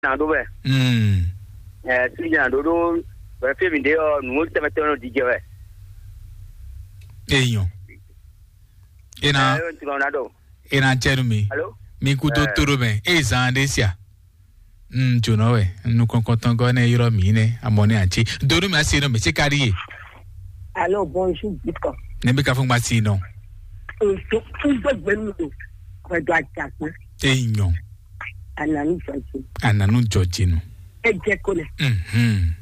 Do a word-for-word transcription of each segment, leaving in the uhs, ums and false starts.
Nado wɛ. Mm. Eh, si nya ɖoɖo wɛ fi mi ɖe ɔ, nu tɛmɛ tɛmɛ ɖo dijɛ wɛ. Eyan. Ena. Eh, ntino na do. Ena cɛnu mi. Alo? Mi kudo Eh. Toro mɛ. E zan de sia. Mm, jonɔ wɛ. Nukɔnkɔntɔn gɔ ne yɔrɔ mi ne. Amɔ ne anti. Dodo mi asi no mi se kari ye. Alo, bonjour, Bitcoin. Ne bi ka fún gba si nɔ. Nto, nto gbɛnu do. Kɔjɔ ajakpe. Eyan. Ananu jɔjɛ. Ananu jɔjɛ nu. Ejɛ ko ne. Mhm.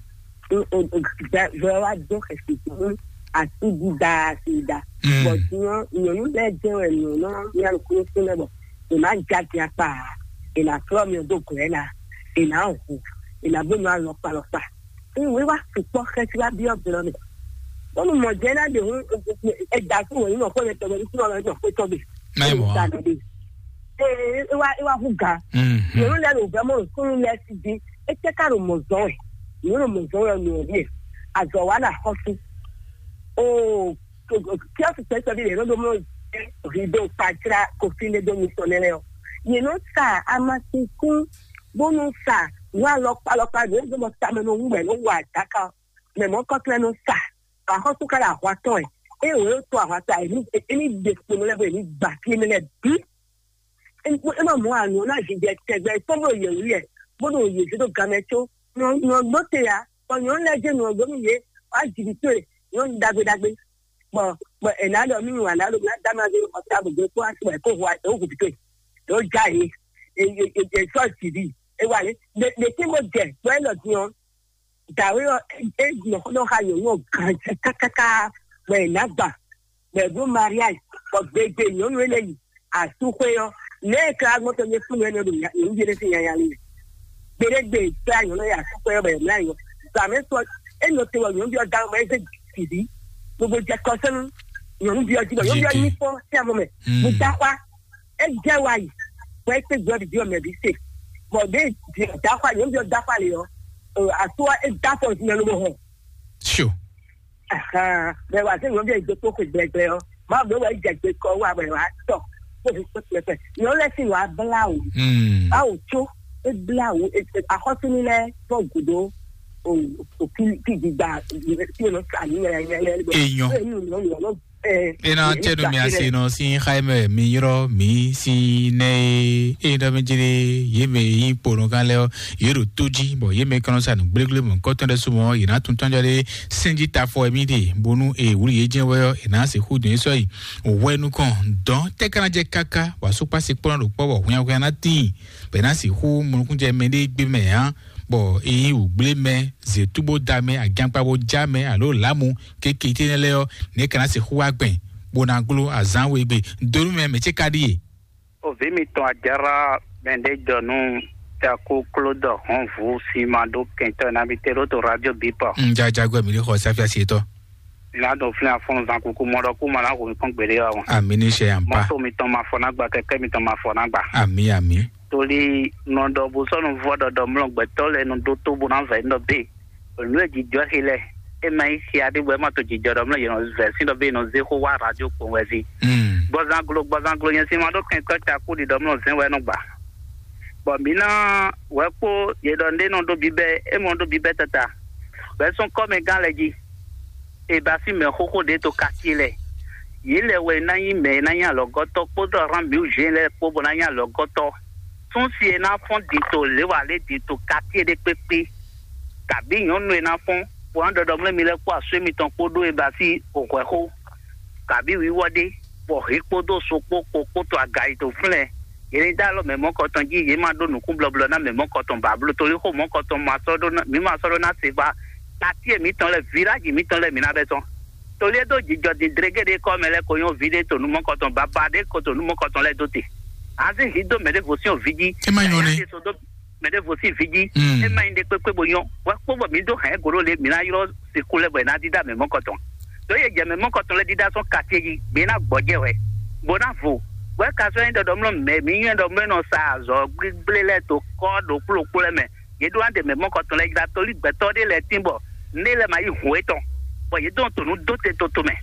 Vɛ wa do xɛsi fún asi dida asi da. Mm. Bɔn tiɲɔ nyɔnu lɛ jɛ wɛ nyɔnu ya kúrú fún lɛ bɔ. Ina ja dia kpa. Ina flɔ mi do gɔɛ la. Ina hu. Ina bó nyɔ alɔkpa alɔkpa. Ìwé wa sukpɔ xɛsi wa biɔ blɔ mi. Bɔnu mɔ jɛ na de hun. Ɛda fún wɛ nínú ọkọ yẹn tọgbẹ ní fún ọmọ ẹgbẹ ọkọ tọgbẹ. Náà mọ̀ wá. Ee, e wa e wa hu ga. Mhm. Yòrò lẹ lò vẹ mọ nkúnú lẹ sí di. Ete ká lò mọ zɔn ẹ. Yòrò mọ zɔn ẹ nù ẹ. Azọ wa na xɔ sí. O, tí a ti tẹ sẹbi yẹn ló mọ rido kpadzra kofi ne do mi sọ nẹ lẹ o. Yẹn nọ sa amasinkun bónú sa wà lọkpalọkpa ló ń gbọmọ tamẹ ló ń wẹ ló wà dáka. Mẹ mọ kọtẹ ló sa. Axɔ́súkára ahwatɔ́n ɛ, eye wòye tó ahwata ɛ ní é ní ɖe kponu lɛ́ɛ bɔ è ní gba fí énɛ́ lɛ́ɛ bǐ. É má mɔ àánú ɔ́ ná zizɛ tɛgbɛ tɔn bó yɛ wú yɛ, bó ɖo yě zé ɖó gamɛ có. Nyɔ̌gbɔ́n te ǎ, bɔ nyɔ̌nu lɛ́ɛ jɛ nyɔ̌gbɔ́n nú yě, wá jǐ towe, nyɔ̌nu ɖagbe ɖagbe. Bɔ bɔ è nǎ ɖɔ nú wǎn ná ɖo ná dá ma zé xɔ tábù dó kó wá sí wɛ kó hu é hu bǐ towe. Ɖǒ já yě, è sɔ́ jǐ bǐ, é wá lé. Ɖě tí mo jɛ, bɔ é lɔ din ɔ́, dǎwe ɔ́, é nɔ xó nɔ xa nyɔ̌nu ɔ́ ganjí kákáká, bɔ è nǎ gba, bɔ è bló mariage, bɔ gbegbe nyɔ̌nu énɛ́ yi asúxwé ɔ́, nɛ̌ è ka gbɔn tɔn nyɛ fún nyɛ nɔ ɖo nyɔ̌nu ví énɛ́ sín nyanya lé? Gbeɖégbe è gbá nyɔ̌nu yi asúxwé ɔ́, bɔ è mlá nyɔ. Zǎmɛ sɔ é nɔ te wɔ nyɔ̌nu ví ɔ́ dá mɔ é zé sǐví, gbogbo jɛ kɔsɛ́nú nyɔ̌nu ví ɔ́ jí, bɔ nyɔ̌nu ví ɔ́ nyí fɔ sí amɔ mɛ, bó dá xwá. É jɛ wa yi, bɔ é kpé gbɔ ɖiɖi ɔmɛ bǐ se, bɔ ɖě ɖi dafa yě ɖɔ dafa le ɔ́, aso ɔ́ é da fɔ zinɛ lobo hɔn. Sure. Ahan, bɛ wa se nyɔnu ɖe do to xwe gbɛgbɛ ɔ́, ma bɛ wa jɛ gbe kɔ wa bɛ wa tɔ, ko fi kpɛkpɛ. Nyɔnu lɛ si wa bla o. Mm. Awo tso, e bla o, e, e, axɔsini lɛ fɔ gudo o, o ki ki gbigba, ki o nɔ sa ni yɛlɛ yɛlɛ. Enyo. E nu nyɔnu nyɔnu. Ena tɛnu mi ase nɔ si xaimɛ mi yrɔ mi si nɛ e ɖɔ mi jere ye mɛ yi kponɔ kan lɛ ɔ ye ɖo to ji bɔ ye mɛ kɔnɔ sa nu gblegble mɔ kɔtɔn ɖe sumɔ ye na tun tɔnjɔ ɖe sinji ta fɔ mi de bonu e wuli ye jɛ wɛ ɔ e na se xu dun sɔ yi wɛ nukɔn dɔn tɛ kana jɛ kaka wa sukpa se kplɔn ɖo kpɔ bɔ hunya hunya na tin bɛ na se xu mɔnukun jɛ mɛ ɖe gbe mɛ ya bɔ e yi wugble mɛ zetu bo da mɛ agankpa bo ja mɛ alo lamu keke tɛnɛ lɛ ɔ ne kana se xu wa gbɛn bó ná gló azǎn we gbe donu mɛ mɛ ce ka ɖíe. Ovi mitɔn Ajara mɛɖejɔnu Jaku Klodɔ Hɔnvu si ma ɖó kɛntɔ́ ná bi te ɖó to radio bipɔ. Ŋjajagbɛ mi ɖi xɔ sáfíà sí etɔ. Ná ɖo fúnni afɔnnu zan kuku mɔ ɖɔ kú ma ná hu mi kpɔn gbeɖé wa wọn. Ami ní ṣe yàn pa. Mɔto mitɔn ma fɔ ná gba kɛkɛ mitɔn ma fɔ ná gba. Ami ami. Torí nɔ ɖɔ bó sɔnu vɔ ɖɔɖɔ mlɔ gbɛtɔ lɛ nu ɖó tó bó ná vɛ nɔ bé. Nǔ e jǐjɔ́ xi lɛ́ɛ, é ma nyí xia ɖé bɔ é ma to jǐjɔ ɖɔ mlɔ́ yě nɔ zɛ sín ɖɔ bé è nɔ zé xó wá radio kpowun wɛ jí. Gbɔzanglo gbɔzanglo nyɛ sín ma ɖó kɛntɔ́ cakú ɖi ɖɔ mlɔ́ zɛ́n wɛ é nɔ gba. Bɔ mǐ ná wɛ kpó yě ɖɔ ɖé nɔ ɖó bíbɛ́, é mɔ ɖó bíbɛ́ tata, bɔ é sɔ́ kɔ́mɛgán lɛ́ɛ jí. È ba sín mɛ xóxó ɖě to katíe lɛ́ɛ. Yě lɛ́ɛ wɛ ná nyí mɛ e ná nyí alɔgɔ́tɔ́ kpódó Abraham mǐwǔ Jean lɛ́ɛ kpó bó ná nyí alɔgɔ́tɔ́. Súnsi e ná fɔ́n din to lě wǎ lé din to katíe ɖé kpékpé. Kabǐ nyɔ̌nu e ná fɔ́n, bó ná ɖɔɖɔ mlɛ́ mi lɛ́ɛ kpó asú émitɔn kpó ɖó e ba sí hwɛ̌xó, kabǐ wíwɔ́ ɖé, bɔ hǐ kpódó so kpó kpo kpó to aga yi to flɛ́. Yě ní dó alɔ mɛ mɔ̌kɔtɔn jí, yě ma ɖó nǔkúnblɔ́blɔ́ ná mɛ mɔ̌kɔtɔn ba bló, torí xó mɔ̌kɔtɔn ma sɔ́ ɖó ná, mǐ ma sɔ́ ɖó ná se ba. Katíe mǐtɔn lɛ́ɛ, viláji mǐtɔn lɛ́ɛ mǐ ná bɛ́ tɔ́n. Torí é dó jǐjɔ din dregéɖe kɔ́ mɛ lɛ́ɛ ko nyɔ́ ví ɖé to nú mɔ̌kɔtɔn, babá ɖé ko to nú mɔ̌kɔtɔn lɛ́ɛ dó te. Azín hǐ dó mɛ ɖěvo sín vǐ jí. É má nyɔ́ nɛ́. Ɖé so dó mɛ ɖěvo sín vǐ jí. Mm. É má nyí ɖé kpékpé bo nyɔ́. Wɛ kpó bɔ mǐ dó hɛ̌n gǒ ɖó le, mǐ ná ylɔ́ si kú lɛ́ bɔ è ná dídá mɛ mɔ̌kɔtɔn. Ɖó yě jɛ mɛ mɔ̌kɔtɔn lɛ́ɛ dídá sɔ́ katíe jí, gbě ná gbɔjɛ́ wɛ, bó ná vo. Wɛ ka sɔ́ nyí ɖɔ ɖɔmlɔ́ mɛ mǐ nyɔ́ ɖɔ mɛ nɔ sa azɔ̌ gblígblé lɛ́ɛ to kɔ́ ɖokpló ɖokpló lɛ́ɛ mɛ. Yě ɖó ná ɖe mɛ mɔ̌kɔtɔn lɛ́ɛ jí ɖa, tóli gbɛtɔ́ ɖé lɛ́ɛ tín bɔ nɛ́ lɛ́ɛ ma yí hǔn étɔn, bɔ yě dɔn to nǔ dó te toto mɛ.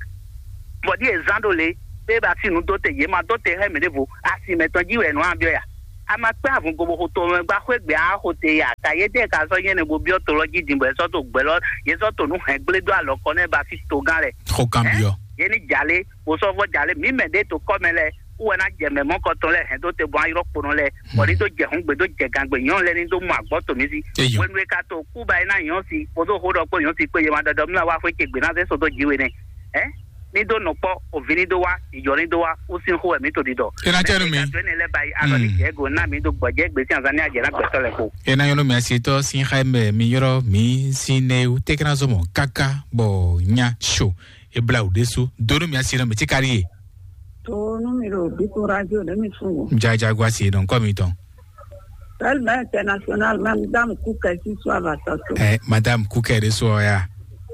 Bɔ ɖíe zán ɖo le, bó e ba sí nǔ dó te, yě ma dó te xá mɛ ɖěvo, asi mɛtɔn jí wɛ è nɔ nyi byɔ́ ya. A ma kpé avun gobo xo to mɛ gba xwé gbé a xo te ya ta yé dé ka sɔ́ nyɛ ne bo byɔ́ to lɔ jí din bɔ yě sɔ́ to gbɛ lɔ yě sɔ́ to nú hɛn gblé dó alɔ kɔ nɛ ba fí togán lɛ. Xo kan byɔ́. Yé ní jalé bó sɔ́ vɔ jalé mǐ mɛ ɖé to kɔ mɛ lɛ kú wɛ ná jɛ mɛ mɔ kɔtɔn lɛ hɛn dó te bɔn ayɔ́ kponɔ lɛ bɔ ní dó jɛ hɔn gbe dó jɛ gangbe nyɔ́ lɛ ní dó mɔ agbɔ to mí sí. Eyo. Wenu e ka to kú ba yi ná nyɔ́ sí kpódó xó ɖɔ kpó nyɔ́ sí kpé yé ma ɖɔɖɔ mí wá xwé ce gbě ná zé sodó jí we nɛ. Ɛ ní dó nɔ kpɔ òvi ní dó wá ìjọ ní dó wá ó sín xó wɛ mí to ɖiɖɔ. E na cɛ nu mi. Mɛ ka tó ne lɛ ba yi alɔ ní jɛ go ná mí dó gbɔjɛ gbèsè azan ní ajɛ ná gbɛtɔ lɛ kpo. E na nyɔnu mi asi tɔ sin xa mɛ mi yɔrɔ mi sin ne o tɛkɛna zɔmɔ kaka bɔ nya so e bla o ɖésú donu mi asi nɔ mi ti kari ye. To nu mi ɖo bitu radio ɖe mi sungo. Jajago asi nɔ nkɔ mi tɔn. Belle mère internationale, Madame Kuka, si soit va tɔtɔ. Eh, Madame Kuka de so ya.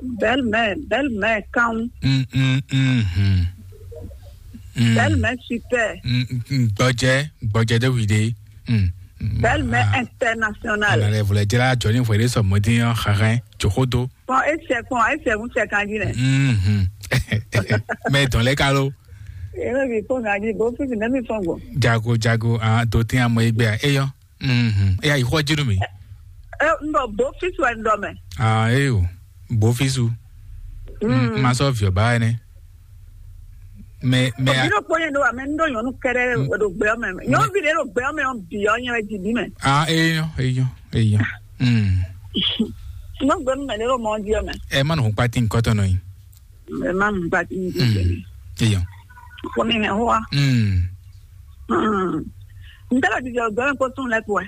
Belle mère, belle mère kan. Mm, mm, mm, mm. Mm. Belle mère super. Mm, mm, mm, gbɔjɛ, gbɔjɛ de wi de. Mm, mm. Belle mère internationale. Ana le vle jela jɔni vwe de sɔ mɔdi yan xaxɛ joxodo. Bon, ese bon, ese un se kan jine. Mm. Mais dans les calos. Ebe bi fo ŋa jí bó fífi nɛ́ mi fɔn gbɔn. Jago jago ah do tin amɔ egbe a eyɔ. Mhm. Eya yi xɔ jinu mi. Ɛ n ɖɔ bó fífi wɛ n ɖɔ mɛ. Ah eyo. Bó físu. Mm. Ma sɔ viɔ ba ne. Mais mais. Òbí ló kpɔnyɛ ɖo wa mɛ n ɖo nyɔnu kɛrɛ ɖo gbɛ mɛ nyɔnu bi ɖe ɖo gbɛ mɛ ɔn bi ɔn nyɛ wɛ ji bi mɛ. Ah eyɔ eyɔ eyɔ. Mm. N ɖo gbɛ mɛ ɖe ɖo mɔ di ɔn mɛ. Ɛ ma nɔ kpa ti nkɔtɔ nɔ yi. Ɛ má mú gba tí mi ti tẹ̀lé. Eyɔ. Fún mi mɛ hoa. Mm. N tẹ́ lọ jijɔ gbɛmɛ kó sún lɛ kó ɛ.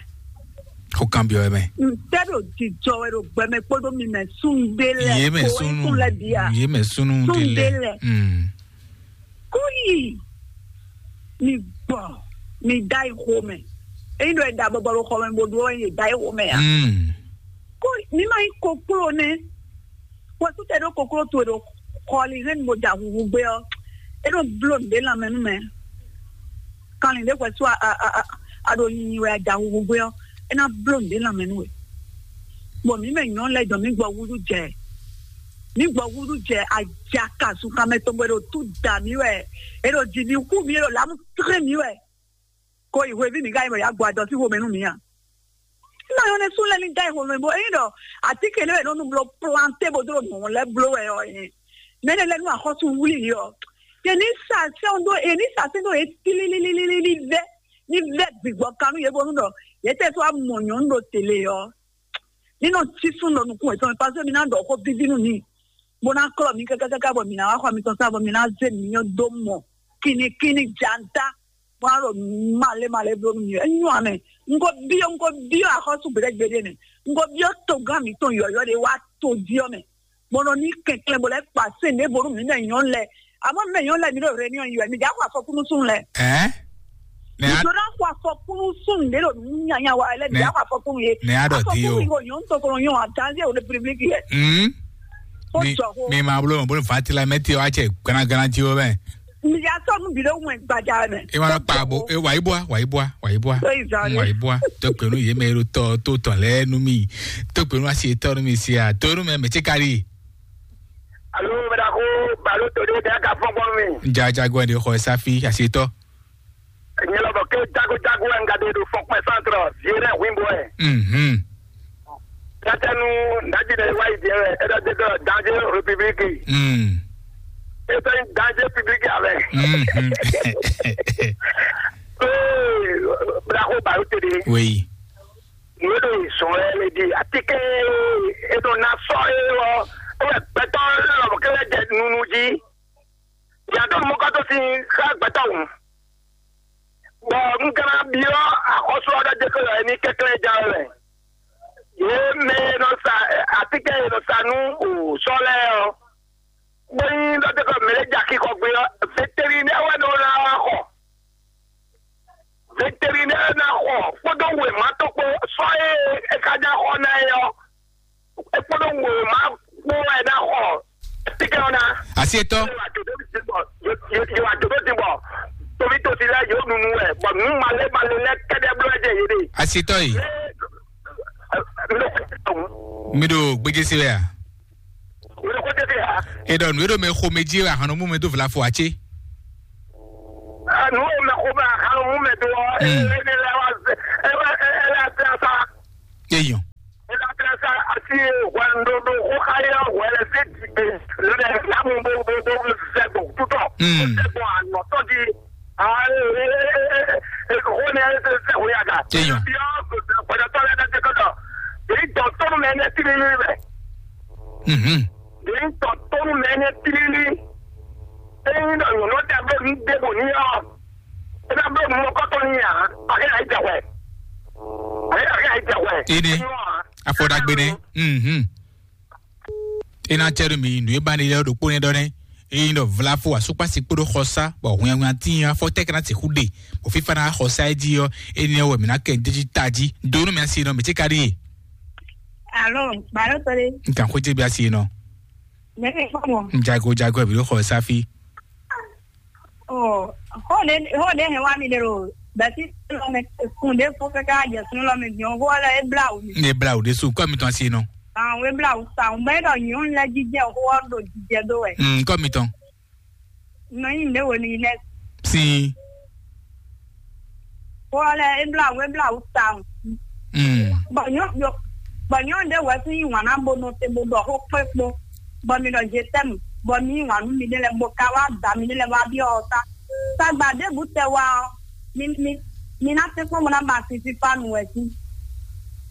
Ó kan bí ọ mɛ. N tẹ́ lọ jijɔ wɛ ɖo gbɛmɛ kpódó mi mɛ sún dé lɛ. Yé mɛ kó sunu. Sún lɛ bia. Yé mɛ sunu Sún dé dé lɛ. Lɛ. Mm. Kó yìí mi gbɔ mi da ixo mɛ. Eyi ɖo ɛda bɔbɔ ɖo xɔ mɛ bo ɖo ɛ da ixo mɛ ya. Mm. Kó mi ma yi koklo nɛ. Wɛsútɛ ɖó kokló towe ɖo xɔlihɛn bo da huhu gbé ɔ́, é nɔ bló nǔɖé lanmɛ nú mɛ. Kanlin ɖé wɛsú a a a a ɖo nyinyi wɛ a da huhu gbé ɔ́, é ná bló nǔɖé lanmɛ nú we. Bɔ mǐ mɛ nyɔ̌nu lɛ́ɛ dɔn mǐ gbɔ wúɖú jɛ, mǐ gbɔ wúɖú jɛ ajaka sunkanmɛ tɔn bɔ é ɖo tú da mǐ wɛ, é ɖo ji mǐ hu mǐ, é ɖo lǎmu tlé mǐ wɛ. Ko yi hweví mǐ ka yi bɔ yǎ gbɔ adɔ sín xomɛ nú mǐ a? Nɔ yɔn ne sú lɛ ní dá ìhòòhò bó eyín ɖɔ àtíkè lé wɛ nɔ nu bló planté bó dó nù lɛ bló wɛ ɔ yẹn. Mɛ ne lɛ nú axɔ́sú wlí yi ɔ. Yɛ ní sa sɛn dó yɛ ní sa sɛn dó yɛ tílílílílí vɛ ní vɛ gbígbɔ kanú yɛ bónú ɖɔ yɛ tɛ sɔ amɔ nyɔnu ɖo télé ɔ. Ní nɔ tí sún ɖɔ nukún wɛ tɔn pase mi ná ɖɔ xó bíbí nú mi. Bó ná klɔ mi kákákáká bɔ mi ná wá xɔ mi tɔn sá bɔ mi ná zé mi nyɔ dó mɔ. Kinikini janta. Bó ná ɖo malé malé bló nú mi. Enyo amɛ. Nko biɔ nko biɔ axɔsu gbɛdɛgbɛdɛ nɛ. Nko biɔ togán mi tɔn yɔyɔ de wá to diɔ mɛ. Bɔnɔ ní kɛnklɛn bɔ lɛ kpa se ne bonu mi mɛ nyɔnu lɛ. Àmọ́ mi mɛ nyɔnu lɛ mi ɖo réunion yi wɛ mi dza xɔ afɔkúnú sún lɛ. Ɛ? Nɛ mi a do na xɔ afɔkúnú sún de ɖo nyanya wa lɛ mi dza xɔ afɔkúnú ye. Nɛ a ɖɔ di o. Afɔkúnú yi o nyɔnu tɔkɔlɔ nyɔ a danze o république yɛ. Hmm. Ó Mi jɔ ko. Mi ma blo blo vati la mɛ ti wa cɛ gana gana ti o mɛ. Mi ya sɔ nu bi ɖe ŋu gbaja mɛ. E ma kpa bo e wa ibua wa ibua wa ibua. Wa ibua. To kpenu ye mɛ ro tɔ to tɔn lɛ nu mi. To kpenu asi tɔ nu mi sia to nu mɛ mɛ tse kari. Alo, mɛ da ko balo to de da ka fɔ gbɔn mi. Jajago de xɔ safi asi tɔ. Nyɛ lɔ bɔ ke jago jago wɛ n ka de do fɔ kpɛ santrɔ vie ɖe hui bɔ ɛ. Mhm. Tatɛnu ndaji ɖe wa yi diɛ wɛ e ɖɔ de dɔ danger république. Mm. E fɛ danger public avɛ. Mhm. Ee, bla ko balo to de. Oui. Nǔ e ɖo yi zɔn wɛ le ɖi atínkɛn e ɖo ná sɔ é ɔ́, é wɛ gbɛtɔ́ lɔmɔ̌ kɛ́ lɛ́ jɛ nunu jí. Yǎdó mɔkɔ́tɔ́ sín xá gbɛtɔ́ hǔn. Bɔ un ka ná byɔ́ axɔ́sú ɔ́ ɖɔ jɛ xó lɔ é ní kɛnklɛ́n ján wɛ. Yě mɛ e nɔ sa atínkɛn e nɔ sa nú sɔ́ lɛ́ɛ ɔ́, bó nyí ɖɔ jɛ xó mɛ lɛ́ jɛ axixɔ gbé ɔ́, vétérinaire wɛ nɔ ná wá xɔ. Vétérinaire ná xɔ kpódó wěma tɔn kpó sɔ́ e é ka ná xɔ ná é ɔ́, é kpódó wěma kpó wɛ ná xɔ tíkɛ ɔ́ ná. Asi etɔ́. Yóò wá dòdò ti bọ̀ tóbi tó ti lẹ yóò nunu wẹ̀ bọ̀ nù malé malé lẹ kẹ́dẹ́ bló ẹ̀jẹ̀ yé de. Asi etɔ́ yìí. Mi ɖo gbéjé se wɛ a? Wele ko tete ha. E ɖɔ nu e ɖo mɛ xo mɛ dzi wɛ ahan nɔ mú mɛ dó vla fo atse. Nu o mɛ xo mɛ ahan nɔ mú mɛ dó ɔ. Mm. E ne la wa Ti hwɛndo ɖo xó xa yɔ hwɛ lɛ sí ti gbe lɛ na mu bo bo bo bo sɛ gbɔ tutɔ. Mm. Sɛ gbɔ anɔtɔ di. Ah, eh, eh, hwɛ ne sɛ hwɛ ya ga. Eyɔn. Yɔ gbɛdɔtɔ lɛ na te kɔtɔ. Èyí tɔ tɔnu mɛ ne ti ni ni bɛ. Mhm. Èyí tɔ tɔnu mɛ ne ti ni ni. Èyí nɔ nyɔnɔ tɛ bɛ mi de bo ni yɔ. Ina bɛ mɔ kɔtɔ ni ya. Akɛ na yi tɛ hwɛ. Akɛ na yi tɛ hwɛ. Ine. Afɔ ɖagbe nɛ. Mhm. Ena cɛ ɖo mi nǔ e ba ne lɛ ɖokpó nɛ ɖɔ nɛ. Eye ɖɔ vlafo asukpasi kpóɖó xɔsá bɔ hwɛnhwɛn tín afɔ tɛkɛnɛ ti xú ɖe bɔ fífa na xɔsá e jí ɔ. Ene wɛ mi na kɛ ɖeji taji do nú mi asi nɔ mi ti ka ɖi. Alo, balo tole. Nkan xwé bi asi nɔ. Mɛ kɛ kpɔ mɔ. Jago jago bi ɖo xɔsá fi. Oh, xó ɖé xó ɖé hɛn wá mi ɖe ɖo bɛsi lɔ mɛ kun ɖé fó kɛkɛ ajɛ sun lɔ mɛ gbɔn xó lɛ ebla wò mi. Ne bla wò ɖe su kɔ mi tɔn si nɔ. Àwọn ebla wò sa àwọn bẹ́ẹ̀ dọ̀ yìí ń lẹ́ jíjẹ́ xó ọ́ ɖo jíjẹ́ dó wẹ̀. Mm, kɔ mi tɔn. Nɔ yìí ndé wò ní lẹ́. Si. Xó lɛ ebla wò ebla wò sa àwọn. Mm. Bɔ nyɔ bɔ nyɔ ɖé wɛ tún yí wàn ná bo nɔ te bo ɖɔ xó kpé kpó. Bɔ mi ɖɔ je t'aime bɔ mi yí wàn nú mi ɖé lɛ bo ka wá da mi ɖé lɛ wá byɔ́ ɔ ta. Tagba ɖěbǔ tɛ wá ɔ, mi mi mi ná tɛ́nkpɔ́n bó ná ba fífífá nu wɛ jí.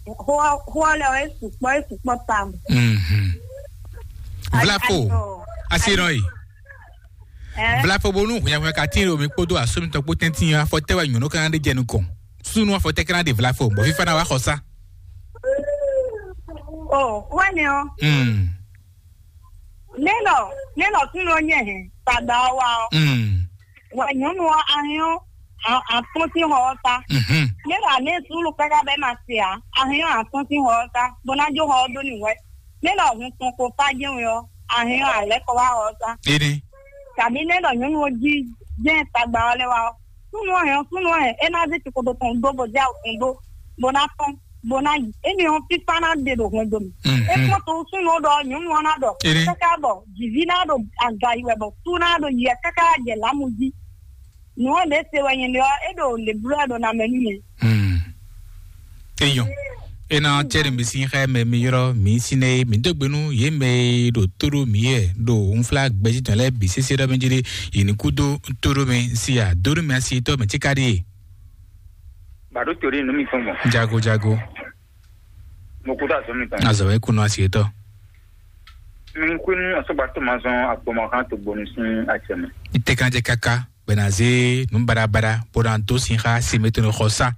Xó ɔ́ xó ɔ́ lɛ ɔ́ é sukpɔ́ é sukpɔ́ tawun. Mhm. Vlafo. Ayi- ayi- asi nɔ yi. Ɛ? Vlafo bonu hwɛhwɛ ka tin ɖo mi kpódó asó mitɔn kpó tɛntin afɔ tɛ wɛ nyɔnu kan ɖe jɛ nukɔn. Sunu afɔ tɛ kan ɖe vlafo bɔ fífa na wa xɔsa. O wɛni ɔ. Hmm. Nélɔ nélɔ tún ló nyɛ hɛn tagba ɔ wa ɔ. Hmm. Wɛ nyɔnu ɔ ahɛn ɔ atɔn sín xɔ ɔ ta. Mhm. Nélɔ alé sulu kpɛká bɛ ma se a ahɛn ɔ atɔn sín xɔ ɔ ta bó ná jó xɔ ɔ dó ní wɛ. Nélɔ hun tɔn ko fá jɛ́n wɛ ɔ ahɛn ɔ alɛ kɔ wá xɔ ɔ ta. Ene. Tàbí nélɔ nyɔnu ɔ jí jɛ́n tagba ɔ lɛ wa ɔ. Súnú ɔ hɛn ɔ súnú ɔ hɛn é ná zé tikodo tɔn dó bó zé awu tɔn dó bó ná tɔn bó ná yi émi ɔ́ fífá ná ɖe ɖo hwɛndo mɛ. Mhm. É kpɔ́n to súnú ɔ ɖɔ nyɔnu ɔ ná ɖɔ Ene. Káká bɔ jìví ná ɖo aga yi wɛ bɔ sú ná ɖo yi wɛ káká jɛ lámu jí. Nǔ ɔ́ ɖě se wɛ nyɛ ɖe ɔ́ é ɖo lě bló wɛ ɖo ná mɛ nú mɛ. Hmm. Eyɔn. Ena cɛɖi mi sin xɛ mɛ mi yrɔ mi sin ne mi dó gbenu ye mɛ ɖo tóɖó mi yɛ ɖo nfla gbɛji tɔn lɛ bi sese ɖɔ mi jiri yi ni kudo tóɖó mi si a dóɖó mi asi tɔ mi ti ka ɖi. Bàdó torí inú mi fún mọ. Jago jago. Mo kú tó àzọ mi tán. Azɔ wɛ kunu asi tɔ. Mi kú inú asọ́gbà tó máa zan àgbọ̀mọ̀ kan tó gbóni sí àjẹmọ́. Ite kan jɛ kaka bɛnaze nu barabara bó na dó sin xa si mi tó ni xɔ sa.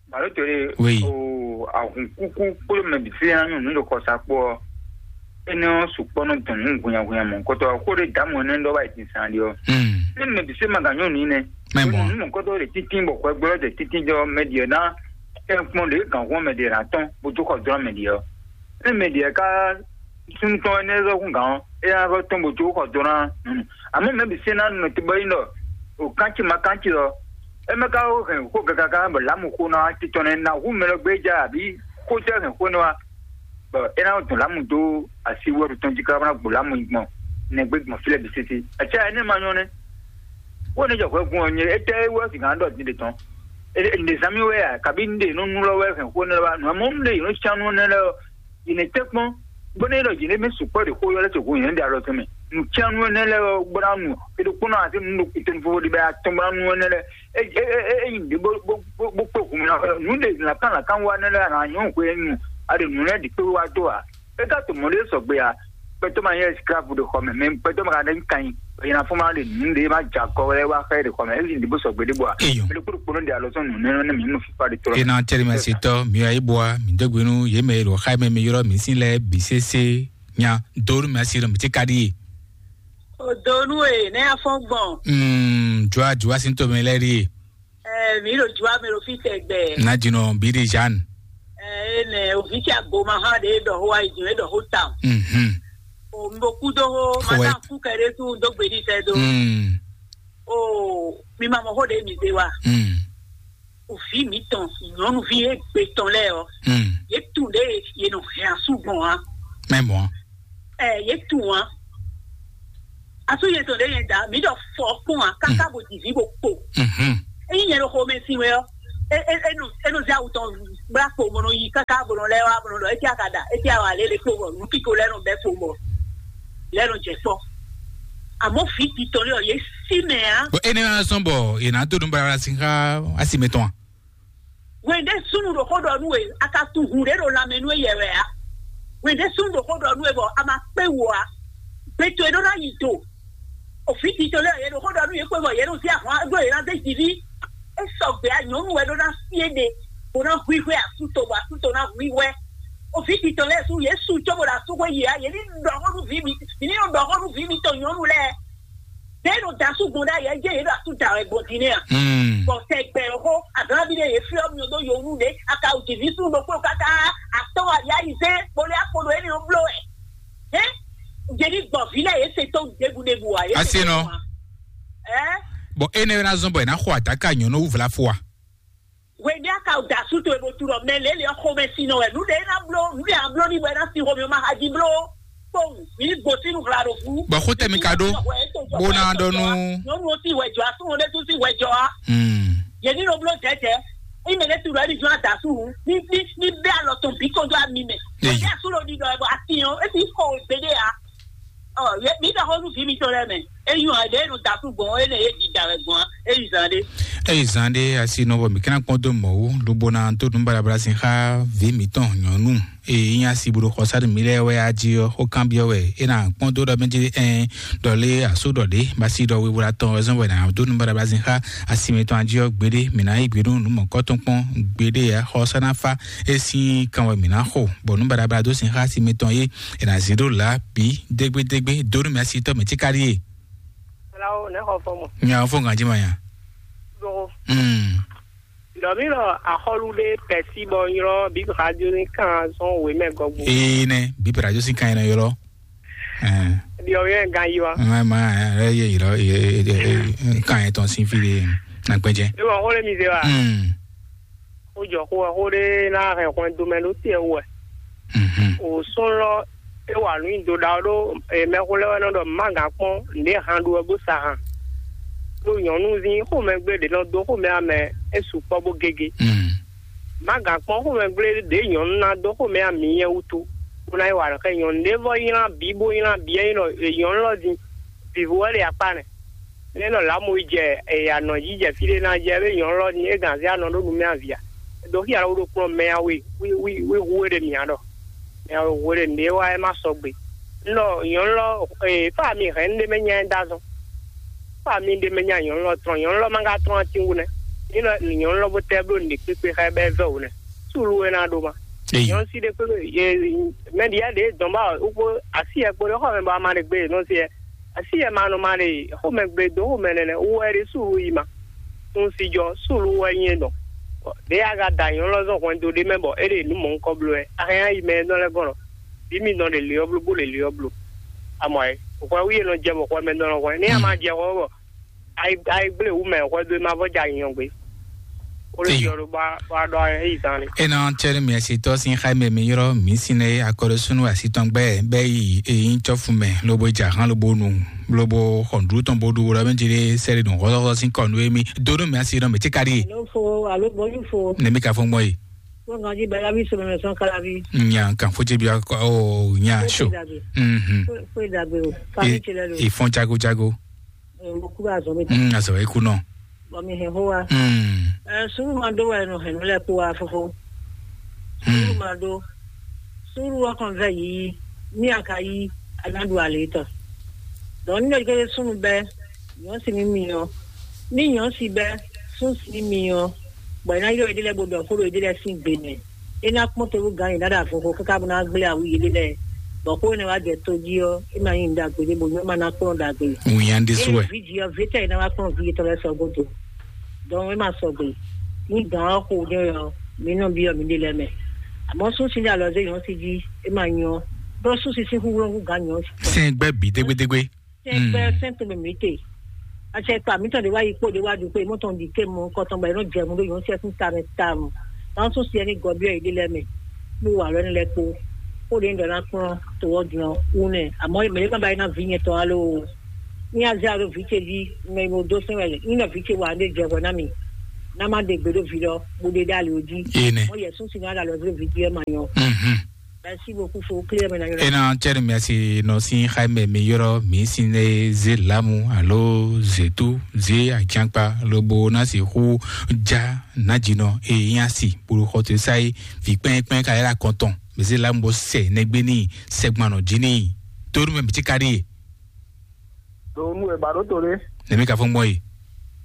Balo tore Oui. O ahun kuku kpolo mɛ bi se anu nu do kɔsa kpɔ. Ene o sukpɔ no dun nu gunya gunya mɔ kɔtɔ ko de damu ne ndo ba itin san dio. Hmm. Ne mɛ bi se ma ganyo ni ne. Mɛ bɔ. Nu mɔ kɔtɔ de titin bɔ kɔ gbɔ de titin jɔ mɛ dio na. E kpɔn de gan ko mɛ de na tɔn bo to kɔ dɔn mɛ dio. Ne mɛ dio ka sun tɔn ne zo kun gan. E na zo tɔn bo to kɔ dɔn na. Àmọ́ mɛ bi se na nɔ te bɔ yin dɔ o kantsi ma kantsi dɔ. Eme ka wo hɛn xó gɛgagã bɔ lamu xó nɔ titɔn nɛ na hu mɛ lɔ gbé ja àbí xó tɛ hɛn xó nɛ wa? Bɔ é ná dun lamu dó asi wɛɖu tɔn jí ká ná gbo lamu yi gbɔn nɛgbé gbɔn fí lɛ bǐ sésé. Acá ɛnɛ ma nyɔ nɛ. Wó ne jɔ hwɛ gun ɔ nyɛ étɛ wɛ si gǎn dɔ din de tɔn. Nde zami wɛ a kabi nde nɔ nu lɔ wɛ hɛn xó nɛ wa nɔ mɔ nde yɔ can nu nɛ lɛ. Yìnyɛn tɛ kpɔn bɔnɛ yɛ lɔ yìnyɛn mɛ sukpɔ de xó yɔ lɛ tɛ hu yìnyɛn de alɔ tɔn mɛ. Nùtsɛnu ɛnɛ lɛ gbɔna nu eɖokpɔnɔ ati nu ɖo kutɔnu fofo de bɛ atɔn gbɔna nu ɛnɛ lɛ. Eyi de bó bó bó kpé hu mi na nu de lakan lakan wa ɛnɛ lɛ ana nyɔ hu ɛnu ade nu lɛ di kpé wa do a. Eka to mɔ de sɔgbe a. Pɛtɔ ma yɛ skrapu de xɔ mɛ mɛ pɛtɔ ma ka de kan yi. Yina fún ma de nu de ma dza kɔ wɛ wa xɛ de xɔ mɛ eyi de bó sɔgbe de bɔ a. Eyo. Mɛ de kpó kpó de alɔ sɔn nu nɛ nɛ mi nu fifa de tɔrɔ. Ena tɛri ma se tɔ mi wa ibo a mi dɔgbe nu ye mɛ lo xa mɛ mi yɔrɔ mi si lɛ bi sese nya donu mi asi lɔ mi ti ka di. Odonu e ne afɔ gbɔn. Mm, jua jua si to mi lɛ di. Eh, mi lo jua mi lo fi tɛgbɛ. Na jinɔ bi di Jeanne. Eh, ne ovi ti agbo ma ha de dɔ ho ayi dun e dɔ ho tam. Mhm. O mbo kudo ho Ho ma e- ta ku kɛ de tu do gbe di tɛ do. Mm. O mi ma mɔ ho de mi de wa. Mm. Ovi mitɔn nyɔnuvi egbe tɔn lɛ ɔ. Mm. Ye tu de ye nɔ hɛn asu gbɔn wa. Mɛ mɔ. Ɛ ye tu wa. Asu ye tɔn de ye da mi dɔ fɔ kpɔn wa kaka bo divi bo kpo. Mhm. Eyi nyɛ ɖo xomɛ si wɛ ɔ. E e e nɔ e nɔ zé awu tɔn gbla kpo bɔ nɔ yi kaka bɔ nɔ lɛ wa bɔ nɔ lɔ eti aka da eti awa lele kpo bɔ nu kiko lɛ nɔ bɛ kpo bɔ lɛ nɔ jɛ kpɔ. Àmọ́ fi titɔ lé ɔ yé sí mɛ á. Bɔ ene wá sɔn bɔ yena do nu bara si xa asi mɛ tɔn. Wende sunu ɖo xó ɖɔ nú e aka tu hun ɖe ɖo lanmɛ nú eyɛ wɛ á. Wende sunu ɖo xó ɖɔ nú e bɔ a ma kpé wo á. Gbɛtɔ e ɖó ná yi do. Òfin titɔ lɛ yɛ ɖo xó ɖɔ nú yě kpé bɔ yě ɖo sí ahwan ɖó yě ná zé jiví. É sɔgbe á, nyɔ̌nu wɛ ɖó ná sí éɖe bó ná hwíhwɛ́ asúto bɔ asúto ná hwíhwɛ́. Òfin titɔ lɛ sú yě su cóbó ɖo asúxwé yi á, yě ní ɖɔ xó nú vǐ mi, yě ní ɖɔ xó nú vǐ mitɔn nyɔ̌nu lɛ́ɛ. Ɖé ɖo dasú gbɔn ɖ'ayǐ, é jẹ́ yě ɖo asú da wɛ gbɔn din nɛ́ a? Hmm. Bɔ tɛgbɛ xó, aganlábí ɖé yě fyɔ́ mi ɖó yowú ɖé, aka wǔ jiví sú ɖokpó káká, atɔ́ ayá yi zé, kpolé akpo ɖo énɛ́ ɔ́ bló wɛ. Hɛn, jeli gbɔ vi lɛ ye se to ɖebu ɖebu wa ye. Asi nɔ. Ɛ. Bɔn ene na zɔn bɔ ena xɔ adaka nyɔnu wuvla fo wa. Wende aka da su to ebo tu lɔ mɛ lele xɔ mɛ si nɔ wɛ nu de na blo nu de a blo ni bɔ ena si xɔ mi ma haji blo. Kpɔn mi ni gbosi nu hla ɖo fu. Bɔn xo tɛ mi ka ɖo bó ná ɖɔ nú. Nyɔnu o si wɛ jɔ a súnmɔ ɖe tún si wɛ jɔ a. Hmm. Yɛ ní nɔ blo jɛjɛ. Ime ɖe tu lɔ ɛni jɔ a da su hu. Ní ní ní bɛ alɔ tɔn bí kɔjɔ a mi mɛ. Eyi. Wende a su lɔ di dɔ ɛ bɔ a ti yɔn e ti kɔ o gbeɖe a. Ɔ, ye mi da xɔ nu vi mi tɔ lɛ mɛ. Eyi hàn ɖe nu da su gbɔn e ne ye di da wɛ gbɔn a. Eyi zan ɖe. Eyi zan ɖe asi nɔ bɔ mi kana kpɔn do mɔwu lobo na to nu balabala sin xa vi mi tɔn nyɔnu. Eye nya si bolo xɔsa ɖe mi lɛ wɛ a jí ɔ xó kan biɔ wɛ e na kpɔn do ɖɔ mi jí ɛn ɖɔ lé aso ɖɔ ɖe basi ɖɔ wewula tɔn ɔzɔn wɛ na do nu balabala sin xa asi mi tɔn a jí ɔ gbeɖe mi na yi gbeɖe nu mɔkɔ tɔn kpɔn gbeɖe ya xɔsa na fa e sin kan wɛ mi na xo bɔ nu balabala do sin xa asi mi tɔn ye e na zi ɖo la bi dégbédégbé do nu mi asi tɔ mi tí kárí ye. Flawo ne xɔ fɔ mɔ. Nya fɔ ngan jí ma nya. Ɖogo. Hmm. Ɖɔ mi lɔ axɔlu ɖe pɛsi bɔ ylɔ bi radio ni kan sɔn we mɛ gɔgbo. Ee nɛ bi radio si kan yɛn ylɔ. Ɛɛ. Ɖiɔ yɛ gan yi wa. Ma ma ɛ ye ylɔ ye kan yɛn tɔn sin fi de na gbɛjɛ. E ma xɔ le mi se wa. Hmm. Xó jɔ xó wɛ, xó ɖé ná hɛn hwɛndo mɛ ɖó tɛ́ wú wɛ. Mhm. O sɔ́n lɔ é wa nǔ nyi do ɖa ɔ́ ɖó mɛxó lɛ́ɛ wɛ nɔ ɖɔ má gǎn kpɔ́n nǔɖé han ɖu wɛ bó sa han. Ɖó nyɔ̌nuzín xomɛgblé ɖě nɔ dó xomɛ amɛ é sukpɔ́ bó gégé. Mhm. Má gǎn kpɔ́n xomɛgblé ɖě nyɔ̌nu ná dó xomɛ amǐ nyɛ wútu, bó ná yi wa nǔ xá nyɔ̌nu ɖé vɔ nylá bǐ bó nylá bǐ é nyí ɖɔ nyɔ̌nu lɔ din vǐvú wɛ ɖe akpá nɛ. Nɛ́ nɔ lǎmu yi jɛ anɔ̌ jí jɛ fí ɖé ná jɛ ée nyɔ̌nu lɔ ní é gǎn zé anɔ ɖó nu mɛ avǐ a? È dǒ xí alɔ ɖo kplɔ́n mɛ awe wí wí wí hu é ɖe mǐ a ɖɔ. Mɛ awe hu é ɖe nǔɖé wá é má sɔgbe. Un ɖɔ nyɔ̌nu lɔ ee fá mi hɛn ɖé mɛ nya ɛ dó azɔn. Fá mi ɖé mɛ nya nyɔ̌nu lɔ trɔn nyɔ̌nu lɔ má ka trɔn atín wú nɛ́. Ní nɔ nyɔ̌nu lɔ bó tɛ́ bló nǔɖé kpékpé xá ɛ bɛ́ vɛ́ wǔ nɛ́. Súlu é ná ɖó ma. Nyɔ̌nu sí ɖé kpé mɛ ɖi yɛ ɖě dɔn bá wúkpó así yɛ kpo ɖé xɔ mɛ bɔ a ma ɖe gbé nɔ sí yɛ. Asi yɛ ma nɔ ma ɖe xomɛ gbe dó xomɛ nɛnɛ wú wɛ ɖe súlu yi ma. Sun si jɔ súlu wɛ nyɛ dɔn. Ɖé a ka da nyɔ̌nu lɔ zɔn hwɛndo ɖé mɛ bɔ é ɖe nǔ mɔ̌hunkɔ bló wɛ. A hɛn ayi mɛ e nɔ lɛ́ gɔn lɔ. Bí mi nɔ ɖe liɔ bló bó ɖe liɔ bló. Amɔ ɛ, hwɛ wú yé nɔ jɛ bɔ hwɛ mɛ nɔ hwɛ. Ní a ma jɛ hwɛ bɔ ayi ayi gblé wú mɛ hwɛ dó e ma vɔ jɛ anyɔ gbe. Ó lè Eyo. Yɔ ló bá bá ɖɔ ɛ yí zan ni. Ena tsɛri mi asi tɔ sin xa mɛ mi yɔrɔ mi sin ne akɔrɔ sunu asi tɔn gbɛ bɛ yi eyin tsɔfu mɛ lobo ja han lobo nu lobo xɔndru tɔn bo ɖu wura mi jiri sɛri dun xɔsɔxɔsɔ sin kɔnu emi dodo mi asi nɔ mi ti kari. Alo fo alo bɔju fo. Ne mi ka fɔ gbɔ yi. Ko ngan ji bɛ labi sɔmɛ mɛ sɔn kalabi. Nya kan fo ti bi akɔ o nya so. Mhm. Fo dagbe o. Fami ti lɛ lo. Ifɔn jago jago. Mo kúrò azɔ̌ mi ta. Mm, azɔ̌ e kú náà. Bɔ mi hɛn xó wa. Mm. Ɛ sùúrù máa dó wɛ nɔ hɛn nú lɛ kpó wa fófó. Sùúrù máa dó. Sùúrù ɔkàn vɛ yìí ní a ka yí anádu àlè tán. Dɔn ní lè gbé súnú bɛ nyɔ̌ sí ní mi ɔ́. Ní nyɔ̌ sí bɛ sún sí ní mi ɔ́. Bɔ iná yɔ ìdílé gbọdọ̀ kúrò ìdílé sí gbè mɛ. É ná kpɔ́n tewú gán yìí dáadáa fófó káká bó ná gblé àwú yìí lélẹ̀. Bɔ kó ne wá jɛ tó jí ɔ́, é ná nyí nǔ ɖagbe ɖé bó nyɔ́ má ná kplɔ́n ɖagbe. Ŋun yá ń dé sú wɛ. Ví jí ɔ́, ví tɛ́ ná wá kplɔ́n ví yětɔn lɛ́ɛ sɔgɔ́ do. Dɔn é má sɔgbe. Ní gǎn ɔ́ xo ɖé ɔ́, mi nɔ byɔ́ mi ɖé lɛ́ɛ mɛ. Àmọ́ sún sín alɔ zé nyɔ̌ sí jí, é má nyɔ́. Bɔ sún sín sín húnhúnú gán nyɔ̌ sí. Sɛn gbɛ bi dégbédégbé. Sɛn gbɛ sɛn to mɛ mi te. Atsɛ kpa mi tɔn de wa yi kpo de wa du kpe mo tɔn di ke mo kɔtɔn ba yi no jɛ mo do yɔn sɛ fun ta mɛ ta mo. Kan so siɛ ni gɔ biɔ yi de lɛ mɛ. Mo wa lɔ ni lɛ kpo. Ko de ndɔ na kplɔn to wɔ dun wu nɛ. Amɔ mɛ de kan ba yi na vi nyɛ tɔn alo. Ni a zɛ alo vi ce di mɛ mo do sɛn wɛ ni na vi ce wa de jɛ wɛ na mi. N'a má ɖe gbe ɖo vi ɖɔ bó ɖe ɖe ali jí. Ene. Mɔ Yesu si ná ɖe alɔ vi ɖe ma nyɔ. Mhm. Merci beaucoup, faut clear maintenant. Ena cɛri mɛsi nɔ sin xaimɛ mi yɔrɔ mi sin ne ze lamu alo zetu ze ajankpa lobo na si xu ja najinɔ e nya si bolo xɔtɔ sa yi vi kpɛn kpɛn ka yɛlɛ akɔntɔn mi ze lamu bɔ sɛ nɛgbɛ ni sɛgbanɔ jini toru mɛ mi ti ka ɖi. Ɖo nú e ba ɖó to ɖé. Ne mi ka fɔn gbɔn yi.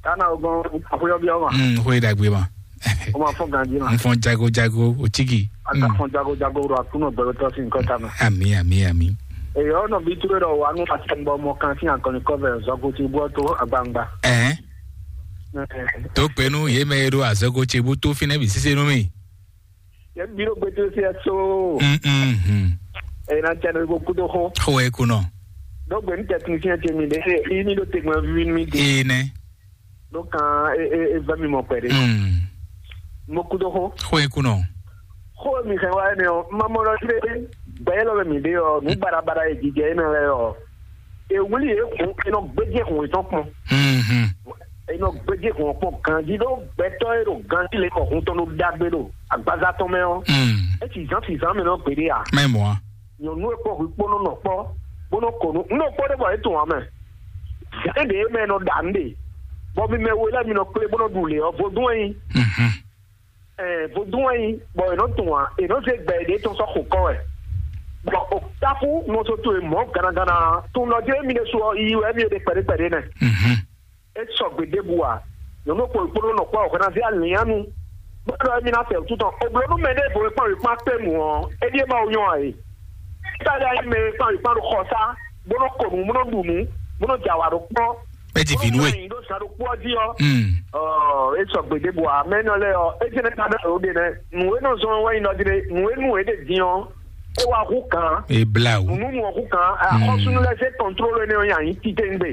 Kana o gbɔn, afɔyɔ bi ɔma. Mm, xwe dagbe ma. O ma fɔn ganji ma. N fɔn jago jago o tigi. A ka fɔn jago jago ɖo akunɔ gbɛlɛ tɔ si nkɔ ta ma. Ami ami ami. Eyi ɔ nɔ bi ture ɖɔ wa nu ati bɔ mɔ kan si akɔni kɔvɛ zɔgo ti bɔ to agbangba. Ɛɛ. To kpɛnu ye mɛ ye ɖo azɔgo ce bu to finɛ bi sise nu mi. Yɛ bi ɖo gbete si ɛso. Mm mm. Ena tɛ no ko kudo xo. Xo e kunɔ. Ɖo gbe nu technicien ce mi ɖe e yi mi ɖo tegmɛ vi mi de. Ee nɛ. Ɖo kan e e e vɛ mi mɔ kpɛ ɖe. Mm. Mo kudo xo. Xo e kunɔ. Xo mi xɛ wa ne o. Ma mɔ lɔ tre. Gbɛ lɔ mi de o. Nu bara bara e jijɛ e na lɛ o. E wuli e kun e nɔ gbedze kun e tɔn kpɔn. Mhm. E nɔ gbedze kun kpɔn ganji ɖo gbɛtɔ e ɖo ganji le kɔ hun tɔn ɖo dagbe ɖo agbaza tɔn mɛ ɔ. Mm. E ti zan ti zan mi nɔ gbeɖe a. Mɛ mɔ a. Nyɔnu e kpɔ hu kpɔnɔ nɔ kpɔ bó nɔ kɔ nu nɔ kpɔ ɖe bɔ e tun wa mɛ. Zan ɖe e mɛ nɔ ɖa nu ɖe bɔ mi mɛ wo lɛ mi nɔ kplé bó nɔ ɖu le ɔ vodún e nyi. Mhm. Ɛɛ vodún wɛ nyi bɔ è nɔ tunwun ǎ, è nɔ zé gbɛ ɖě tɔn sɔ́ xo kɔ wɛ. Bɔ o táfú nɔzo towe mɔ̌ ganagana tun nɔ jlé mi ɖésú ɔ́, yiyi wɛ mi e ɖe kpɛɖé kpɛɖé nɛ. Mhm. É sɔgbe ɖěbǔ ǎ. Nyɔ̌nu kpó kpódó nɔ kpɔ́ wɛ hwɛ ná zé alǐnnyánu. Bó ɖɔ émí ná fɛ wǔtu tɔn. Oblo nú mɛ ɖěvo e kpán wě kpán kpé mǔ ɔ́, é ɖíe Mawu nyɔ́ ǎ é. Káɖí ayé mɛ e kpán wě kpán ɖo xɔsá, bó nɔ ko nǔ, bó nɔ ɖu nǔ, bó nɔ jɛ awǎ ɖó kpɔ́. É ti vǐ nú we. Ɖó sá ɖokpó ɔ́ jí ɔ́. Mm. Ɔ, é sɔgbe ɖěbǔ ǎ. Mɛ énɛ́ lɛ́ɛ ɔ́, é jɛ́n ká ɖɔ ɖě nɛ́. Nǔ e nɔ zɔ́n wɛ nyí nɔ ɖi ɖe, nǔ e nǔ e ɖe din ɔ́, é wá hú kǎn. É blá wǔ. Nǔnú nú ɔ́ hú kǎn. Axɔ́súnú lɛ́ɛ zé kɔntlólu énɛ́ ɔ́ nyi anyǐ titewungbe.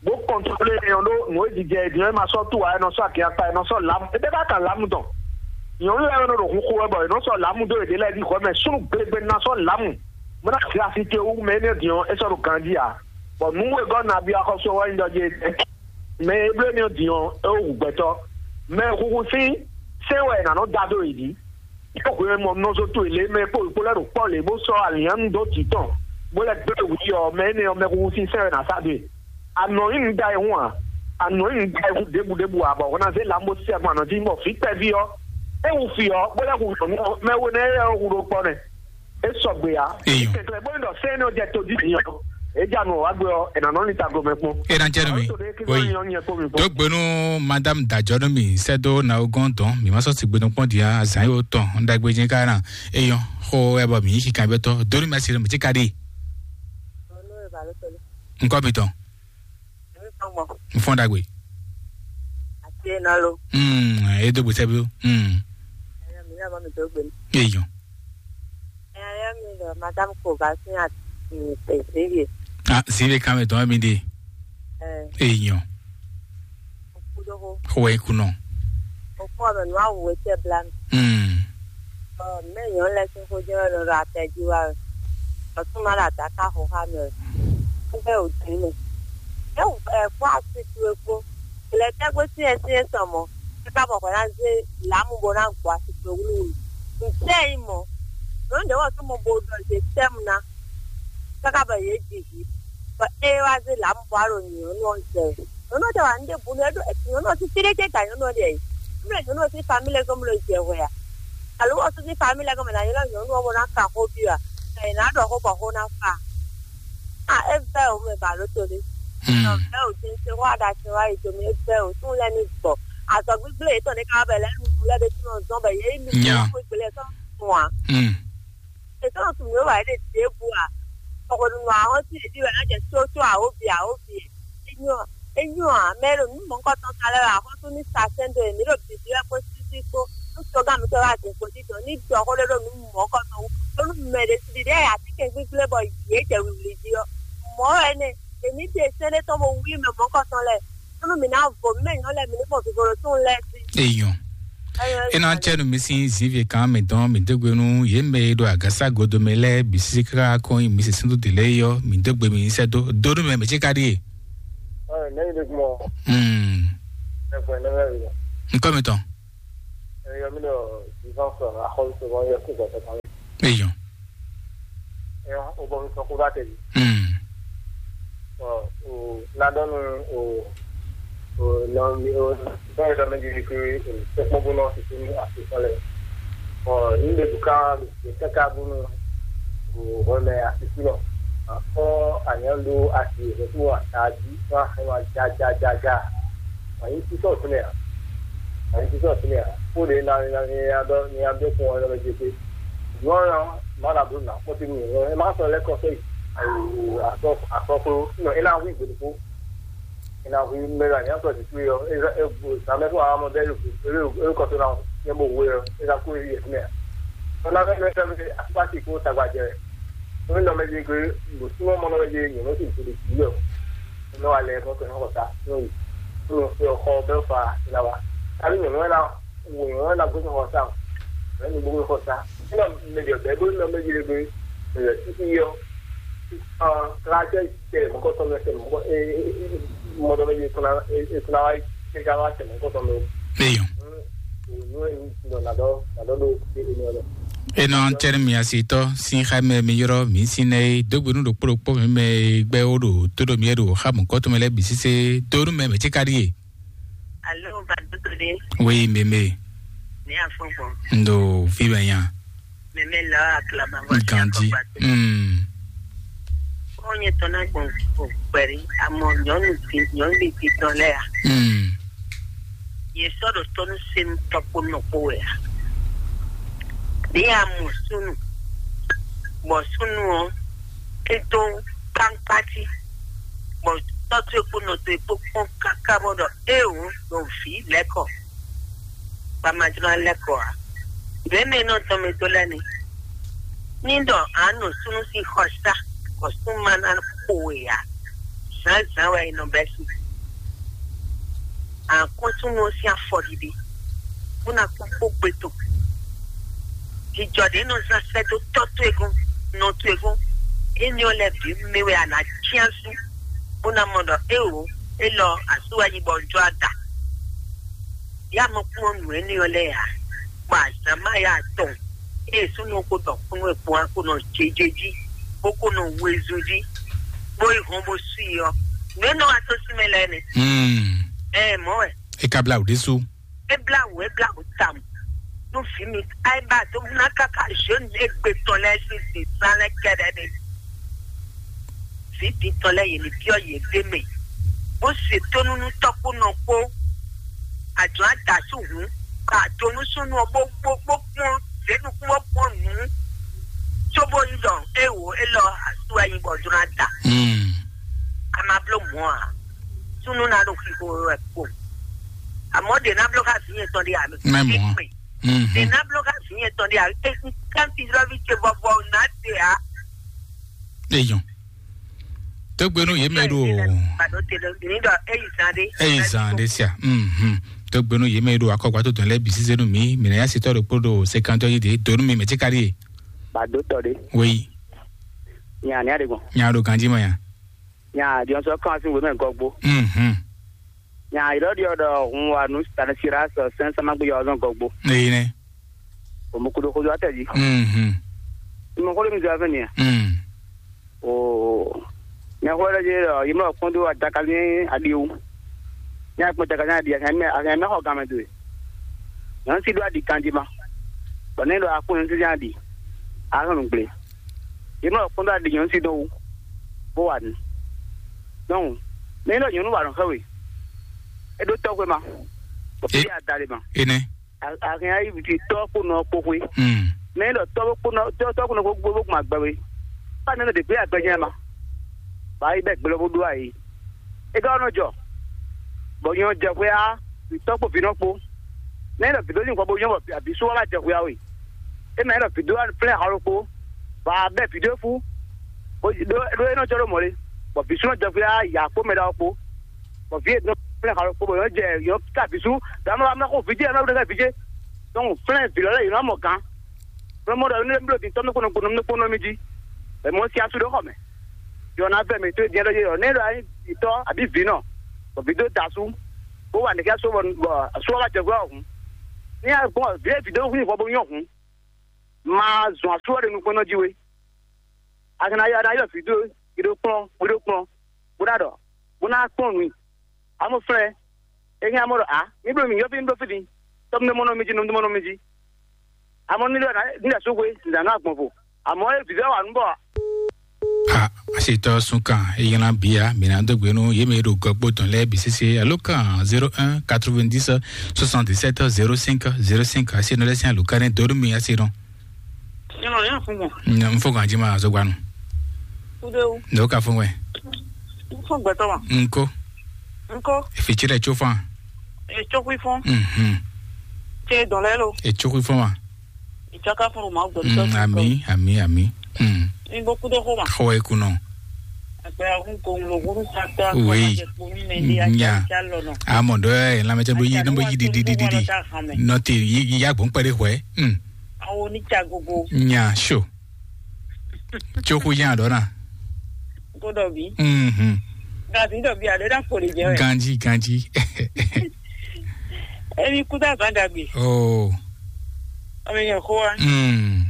Bó kɔntlólu énɛ́ ɔ́ ɖó nǔ e jijɛ è din ɔ́, é ma sɔ́ tú ǎ, é nɔ sɔ́ akyakpa, é nɔ sɔ́ lǎmu. É ɖé bá kan lǎmu tɔn. Nyɔ̌nu lɛ́ɛ nɔ ɖo xixo wɛ bɔ è nɔ sɔ́ lǎmu dó yěɖée lɛ́ɛ ɖi hwɛ mɛ súnnu glegbe ná sɔ́ lǎmu. Mɔ̌ ná glasi ce wú mɛ énɛ́ din ɔ́, é sɔ́ ɖo ganjí ǎ. Bɔ nǔ wegɔ́ nabí axɔ́sú ɔ́ wɛ nyí ɖɔ jí mɛ e bló énɛ́ din ɔ́, é wó hu gbɛtɔ́. Mɛ e huhu sín sɛ́n wɛ è nǎ nɔ da dó yě jí. Yě hwɛ mɔ nɔzo towe lě mɛ kpó yě kpó lɛ́ ɖo kpɔ́ lě bó sɔ́ alǐnnyánu dó jǐ tɔn, bó lɛ́ gbé wǔ yi ɔ́, mɛ énɛ́ ɔ́, mɛ huhu sín sɛ́n wɛ è nǎ sá dó e. Anɔ nyí nǔ da e hun a? Anɔ nyí nǔ da e hun ɖěbǔ ɖěbǔ a? Bɔ hwɛ ná zé lǎmu bó sí agbɔn anɔ jí bɔ vǐ kpɛví ɔ́, é hu fí ɔ́, bó lɛ́ hu nyɔ̌nu ɔ́, mɛ we nɛ́ é hu ɖo kpɔ́ nɛ́. É sɔgbe ǎ. Eyɔn. Kɛkɛ bó ní ɖɔ sɛ́n nɔ jɛ tó jí bǐ ɔ́, é ja nǔ wá gbé ɔ́, è nǎ nɔ ní tago mɛ kpɔ́n. É ná jẹ́ nú mi. Tó ɖé kí Oui. Wọ́n yàn yẹn kó mi kpɔ́n. Dó gbe nú madame Dajɔ nú mi sɛ́ dó na o gɔ́n dɔn mi má sɔ́ sigbe nukpɔ́n dia azǎn yóò tɔn un ɖagbe jɛ́n ká ná. Eyɔn xó ɛ bɔ mǐ yí kanbyɔ́tɔ́ dó nú mi asi mi cí ka ɖi. Ọ̀nà ìbàlópẹ̀lú. Nkɔ mi tɔn. Èmi kan mọ̀. N fɔn ɖagbe. Àti iná ló. Hmm, e dó gbèsè bí o. Hmm. Ẹ̀yà mi náà bá mi tó gbé mi. Eyɔn. Ẹ̀yà mi lọ, madame kò bá sí àti ìpèsè yìí. Ah, si be kan mi tɔn mi de. Ẹ̀. Eyɔn. Kúdókó. Xó ẹ kunɔ. Òkú ọ̀nà ní wàá wò ó tẹ̀ bla mi. Hmm. Ɔ, mɛ nyɔ lɛ sín xó jɛ wɛ nɔ ɖo atɛ jí wá wɛ. Ɔtún ma ɖo adaka xo xá mɛ wɛ. Kúbɛ ò dín mɛ. É wù ɛ kpó asi towe kpó. Lɛ tɛ́ gbé sí ɛ sí ɛ sɔ mɔ. É ká bɔ hwɛ ná zé lǎmu bó ná gbɔ asi towe wúlúwúlú. Ntɛ́ nyí mɔ. Nǔ ɖě wɔ tó mɔ bo ɖɔ zé tɛ́mu ná. Káká bɔ yě ji vǐ. Bɔ é wá zé lǎmu bó wá ɖo nyɔ̌nu ɔ́ zɛ wɛ. Nyɔ̌nu ɔ́ tɛ wà ní ɖěbǔ nú ɛ ɖó nyɔ̌nu ɔ́ sín fí ɖé jɛ gǎn nyɔ̌nu ɔ́ ɖe ɛ. Mle nyɔ̌nu ɔ́ sín famílí lɛ́ɛ gɔ́n mle jɛ hwɛ a? Alo wɔ sín famílí lɛ́ɛ gɔ́n mɛ ná ylɔ́ nyɔ̌nu ɔ́ bó ná ka xó byɔ́ a? Mɛ è nǎ ɖɔ xó bɔ xó ná fa. A é vɛ́ o mɛ ba ló to ɖé. Nɔ vɛ́ o dín se xó aɖa se wá yi domi é vɛ́ o tún lɛ́ ní gbɔ. Azɔ̌ gbígbé yětɔn ɖé ká wá bɛ lɛ́ nu lɛ́ ɖé tún nɔ zɔ́n bɛ yě yi mi Nya. Xó gbélé sɔ́ fún a. Hmm. Ètò nɔ tun mí wà é ɖe ɖěbǔ a? Kɔkɔɖunɔ ahɔn sí ɖěɖi wɛ ná jɛ sósó awǒvi awǒvi. Enyɔ enyɔ a mɛ ɖo nǔ mɔ̌kɔtɔn sa lɛ́ wɛ ahɔn tó ní sa sɛn dó èmí ɖo bǐbí wɛ kpó sísí kpó nú tɔgán mǐtɔn wá din kpó dídɔn ní ɖɔ xó ɖé ɖo nǔ mɔ̌kɔtɔn wú. Bónú mɛ ɖě sí ɖiɖi ɛ atínkɛn gbígbé bɔ yě jɛ wǐwlí jí ɔ́. Mɔ̌ wɛ nɛ èmí ɖe sɛ́n ɖé tɔn bó wlí mɛ mɔ̌kɔtɔn lɛ́ɛ. Nú mi ná vo mɛ nyɔ lɛ mi ní mɔ vivo ɖo tún lɛ sí. Eyɔn. Ena cɛnu mi sin zivi kan mi dɔn mi degbe nu ye mɛ e ɖo agasa godo mi lɛ bi sisi kaka kɔn mi se sindu de lɛ yɔ mi degbe mi sɛ do do nu mɛ mi tsi ka ɖi ye. Ɔ ne yi de kumɔ. Hmm. Ɛ fɔ ne bɛ yɔ. Nkɔ mi tɔn. Eyɔ mi ɖɔ vivant sɔ axɔlu sɔ bɔ yɔ kú gbɔtɔ kan. Eyɔ. Eyɔ o bɔ mi sɔ kú bá tɛ bi. Hmm. Ɔ o ladɔnu o o nɔ mi o nɔ yɛ dɔ mi di ke o tɛkpɔn bó nɔ sisi ní afi sɔ lɛ. Ɔ ní bɛ duka bɛ kaka bó nɔ o hɔmɛ afi sɔ lɔ. Akɔ anyando asi o fún wa ta di fún axɛ wa ja ja ja ja. Wàyí sísọ fúnɛ à? Wàyí sísọ fúnɛ à? Kó ɖe na na ni adɔ ni adɔ fún ɔ́ lɔmɛ jete. Nyɔ̌ ɔ́ má ɖa bló nà kpɔ́ sí mi ɔ́, ɛ má sɔ lɛ́ kɔ sɔ́ yi. Akɔklo nɔ é ná hu igbe ɖokpó. É ná hu mɛ la nyá sɔ sisi ɔ́, é zá é bu zǎmɛ fún wa mɔ bɛ́ é kɔ sɔ́ ná nyɛ bó hu é ɔ́, é ná kú é yi fúnɛ à? Ɔ́ ná fẹ́ mɛ fẹ́ mɛ akpási kó tagbajɛ. Ó ní nɔmɛ jí gbé, bó súnmọ́ mɔ nɔmɛ jí nyɔ̌ nɔ sí ìpele jǐ ɔ́. Nɔ alɛ mɔ kɛ nɔ xɔ sa nɔ yi. Nɔ xɔ bɛ fa la wa. Tabi nyɔ̌ nɔ na wo nyɔ̌ nɔ na gbé xɔ sa. Mɛ ni gbé xɔ sa. Nɔ mɛ jɔ bɛ bó nɔ mɛ jí le gbé. Mɛ jɔ títí yɔ. Ɔn kla jɛ jɛ mɔ kɔ tɔ mɛ sɛ mɔ kɔ e e mɔ dɔ mɛ jí kuna e kuna wa e ka wa sɛ mɔ kɔ tɔ mɛ. Eyɔn. Nɔ na dɔ na dɔ do e e nɔ dɔ. Enɔ antɛni mi asitɔ sin xa mɛ mi yrɔ mi sin nɛ e dogbe nu ɖokpó ɖokpó mi mɛ e gbɛ wo ɖo tó ɖo mi ɖo xa mɔ kɔtɔn mɛ lɛ bi sise do nu mɛ mɛ tsi ka ɖi e. Alo, ba dodo de. Oui, meme. Ni afɔgbɔn. Ndo fi bɛ nya. Meme la aklama bɔ. Ganji. Hmm. Onye tɔna gbɔn gbɛri amɔ nyɔnu ti nyɔnu ti tɔn lɛ ya. Hmm. Ye sɔ ɖo tɔnu senu tɔkpo nɔkpo wɛ ya. Ɖe amɔ sunu. Bɔ sunu ɔ, e dó kpankpati, bɔ tɔ́ towe kpó nɔ towe kpó kpɔ́n káká bɔ ɖɔ éeǒ ɖo vǐ lɛ́kɔ, bɔ a ma jló ná lɛ́kɔ ǎ. Nǔ e mɛ nɔ tɔn mɛ dó lɛ́ɛ ni. Ní ɖɔ a nɔ súnnu sín xɔ sá, bɔ súnnu ma ná xo we ǎ, zǎnzǎn wɛ è nɔ bɛ́ sín. Àkɔ́ntúnú ɔ́ sín afɔɖiɖi, bó ná kpɔ́n kpó gbe tɔn. Jijɔ ɖě nɔ zán sɛ́ dó tɔ́ towe gɔ́n, nɔ towe gɔ́n, énɛ́ ɔ́ lɛ́ɛ bǐ mɛ wɛ a nǎ cyán sú, bó ná mɔ ɖɔ éeǒ, élɔ́ asú wɛ nyí bɔ un jló ná da. Yá mɔ kpɔ́n nǔ énɛ́ ɔ́ lɛ́ɛ ǎ, bɔ azǎn má yá atɔn, ée súnnu ɔ́ ko dɔ kúnnu e kpɔ́n ɔ́ ko nɔ jɛjɛ jí, bó ko nɔ wezun jí, bó yi hɔn bó sú i ɔ́, nǔ e nɔ wá tó sí mɛ lɛ́ɛ nɛ́. Hmm. Ɛ mɔ̌ wɛ. E ka blá wǔ ɖésú. E blá wǔ, e blá wǔ tawun. Nú vǐ mi, Ayiba tó ná káká zhǒnu égbé tɔn lɛ́ɛ sín zǐnzán lɛ́ɛ kɛ́ɖɛ́ ɖe. Vǐ din tɔn lɛ́ɛ yě ní byɔ́ yě ɖ'é mɛ, bó se tónú nú tɔ́ kpó nɔ kpó. Ajɔ̌ adǎ sú hǔn, bɔ ado nú súnnu ɔ́ bó bó bó kpɔ́n zě nukún bó kpɔ́n nǔ, cóbó nyí ɖɔ é wǒ élɔ́ asú wɛ nyí bɔ jló ná da. Hmm. A ma bló mɔ̌ ǎ. Súnnu ná ɖo xixo wɛ kpo. Àmọ́ ɖě ná bló xá vǐ nyɛ tɔn ɖé ǎ. Mɛ mɔ̌. Ɖě ná bló xá vǐ nyɛ tɔn ɖé ǎ. Kanti lɔvi ce vɔvɔ ná se ǎ. Eyɔn. Tógbénú yě mɛ ɖo. Pardon, te ɖo ní ɖɔ eyi zan ɖé. Eyi zan ɖé sia. Mhm. Tógbénú yě mɛ ɖo akɔgba tó dɔn lɛ bisi zenu mi, mi na ya sitɔ ɖo kpó ɖo sekantɔ yi de donu mi mɛ tsi kari. Bado tɔ ɖé. Oui. Nya ni aɖe gbɔn. Nya ɖo ganji ma ya. Nya diɔnsɔ kan si wèmɛ gɔgbo. Mhm. Nya yi ɖɔ ɖiɔ ɖɔ hun wa nu Stanislas sɛn sama gbé yɔ zɔn gɔgbo. Eyi nɛ. O mo kudo kudo atɛ ji. Mhm. Mo kudo mi zɔ fɛn ya. Mhm. O nya ko ɖe je ɖɔ yi mɔ kpɔn do adaka ni adi wu. Nya kpɔn adaka ni adi a kan mɛ a kan mɛ xɔ game do. Nyɔnu si do adi kanji ma. Bɔ ne ɖo akpɔ nyɔnu si adi. A kan nu gble. Yi mɔ kpɔn do adi nyɔnu si do wu. Bo wa nu. Donc, ne ɖɔ nyɔnu wa nɔ xɛ we. E ɖo tɔgbe ma. Bɔ fi a da le ma. Ene. A a hɛn ayi viti tɔ kpo nɔ kpo xwe. Hmm. Mɛ ɖɔ tɔ kpo nɔ tɔ tɔ kpo nɔ kpo gbogbo gbɔn agbɛ we. Fa nɛ de gbe agbɛ jɛ ma. Ba yi bɛ gblɔ bo do ayi. E ka nɔ jɔ. Bɔ nyɔ jɛ xwe a tɔ kpo vi nɔ kpo. Mɛ ɖɔ vi do ni kɔ bo nyɔ bɔ abi so wa jɛ xwe a we. E mɛ ɖɔ vi do flɛ xɔ kpo. Ba bɛ vi do fu. Bo do do e nɔ jɔ do mɔ le. Bɔ vi so nɔ jɛ xwe a ya kpo mɛ ɖa kpo. Bɔ vi e dɔn flɛ xalɔ kpo bɔ yɔ jɛ yɔ ka visu dama wa mlako vijɛ yɔ mlako ɖe vijɛ. Donc flɛ vi lɔ lɛ yɔ mɔ gan. Mlɔ mɔ ɖɔ ne mlɔ di tɔ mlɔ kpono kpono mlɔ kpono mi ji. Ɛ mɔ si asu ɖe xɔ mɛ. Yɔ na vɛ mi to diɛ ɖɔ yɔ ne ɖɔ ayi tɔ abi vi nɔ. Bɔ vi do da su. bó wa nɛ̌ ká só bɔ só wá jɛ gbɔ hǔn. Ní a gbɔn vǐ e vǐ dó hu nyí hwɛ bó nyɔ́ hǔn, ma zɔn asú ɔ́ ɖe nukɔn nɔ jí we. A ka ná yɔ a ná yɔ vǐ dó gbe ɖó kplɔ́n gbe ɖó kplɔ́n bó ná ɖɔ bó ná kplɔ́n nǔ i. Amɔ́ flɛ́, é hɛn amɔ́ ɖɔ ǎ, mǐ bló mǐ yɔ́fí un ɖó fí din, tɔ́ un ɖó mɔ nɔ mi jí, nɔ un ɖó mɔ nɔ mi jí. Amɔ́ ní ɖɔ ní ɖɔ sóxwe, nǐ ná nɔ agbɔn vo. Amɔ́ é vǐvɛ́ wa nǔ bɔ a ṣètò sunkan eyana bia mina dógbénu yémi ɖo gɔgbó tɔn lɛ bisese alo kan zéro un quatre-vingt-dix soixante-dix-sept zéro cinq zéro cinq asi nɔ lɛsɛn alo kan ne dóru mi asi nɔ. Nyɔnɔ yà fún mɔ. N fo kan jima azogbanu. Kudewu. Ne o ka fún wɛ. Fún gbɛtɔ ma. Nko. Nko. Efi tsi ɖe tso fan. Etsokui fún. Mhm. Tse dɔn lɛ lo. Etsokui fún ma. Ìtsaka fún ma gbɔ. Mm, ami, ami, ami. Mm. Ní gbókú tó xó ma. Xɔ ekunɔ. Àgbẹ̀ àwọn kò ń lo wúrú sáta. Oui. Nya. Amɔ dɔ ɛ lamɛtɛ bo yi, ne bo yi didi didi. Nɔte yi ya gbɔn kpɛɖe xɔɛ. Mm. Àwọn onítsàgógó. Nya so. Tsoku nya dɔ na. Kó dɔ bi. Mhm. Gàdí dɔ bi àdé dá kò lè jẹ wɛ. Ganji, ganji. Ẹni kú dá bá dàgbé. Oh. Ọmọ èèyàn kó wa. Mm.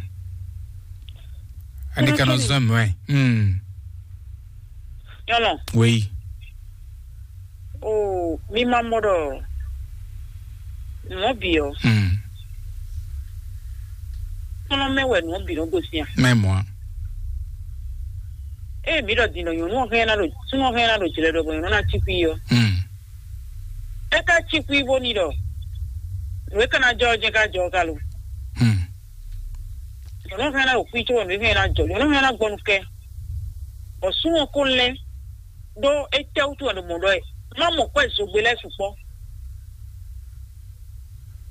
Ani kana zɔn mɛ. Mm. Yɔlɔ. Oui. O mi ma mɔ ɖɔ nɔ bi ɔ. Mm. Kɔnɔ mɛ wɛ nɔ bi nɔ gosi a. Mɛ mɔ. Ee mi ɖɔ din ɖɔ nyɔnu ɔ hɛn na ɖo súnmɔ hɛn na ɖo jlɛ ɖɔ bɔ nyɔnu na tsi kui ɔ. Mm. E ka tsi kui bo ni ɖɔ. Nǔ e ka na jɔ ɔ jɛ ka jɔ ɔ ka lo. Mm. Nyɔnu hɛn na ɖo kui tso nǔ hɛn na jɔ nyɔnu hɛn na gbɔnu kɛ. Bɔ súnmɔ ko lɛ ɖó étɛ́ wútu wɛ ɖo mɔ̌ ɖɔ ɛ má mɔ kwɛ zogbe lɛ́ɛ sukpɔ́.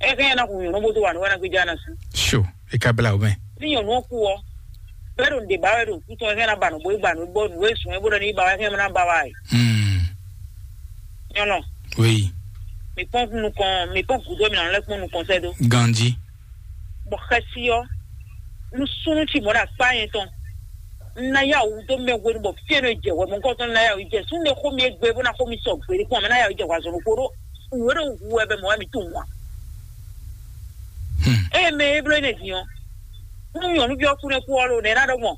É hɛn ná hu nyɔ̌nu bó dó wa nǔ wɛ ná gbéjá ná sú. So, é ka blá o mɛ. Ní nyɔ̌nu ɔ́ kú ɔ́, bɛ́ ɖo nǔɖé ba wɛ ɖo kú tɔn é hɛn ná ba nǔ bó é gba nǔ bó nǔ é sùn é bó ɖɔ ní ba wɛ hɛn ná ba wa ɛ. Hmm. Nyɔnɔ. Oui. Mi kpɔn nukɔn mi kpɔn gǔdo mi nà lɛ kpɔn nukɔn sɛ dó. Ganji. Bɔ xɛsi ɔ́, nú súnnu ci mɔ̌ ɖo akpá nyɛ tɔn. Un ná yá wǔ dó mɛ hwenu bɔ fí e nɔ jɛ hwɛ mɔ̌hunkɔtɔn ná yá wǔ jɛ súnnu e xó mi égbe bó ná xó mi sɔ gbeɖé kpɔ́n mɛ ná yá wǔ jɛ hwazɔn ɖokpó ɖó wǔ e ɖo hu wɛ bɛ mɔ̌ wɛ mi tunwun ǎ. Eye mɛ e bló énɛ́ din ɔ́, nú nyɔ̌nuví ɔ́ kú nɛ́ kú ɔ́ ɖo nɛ̌ ná ɖɔ gbɔn?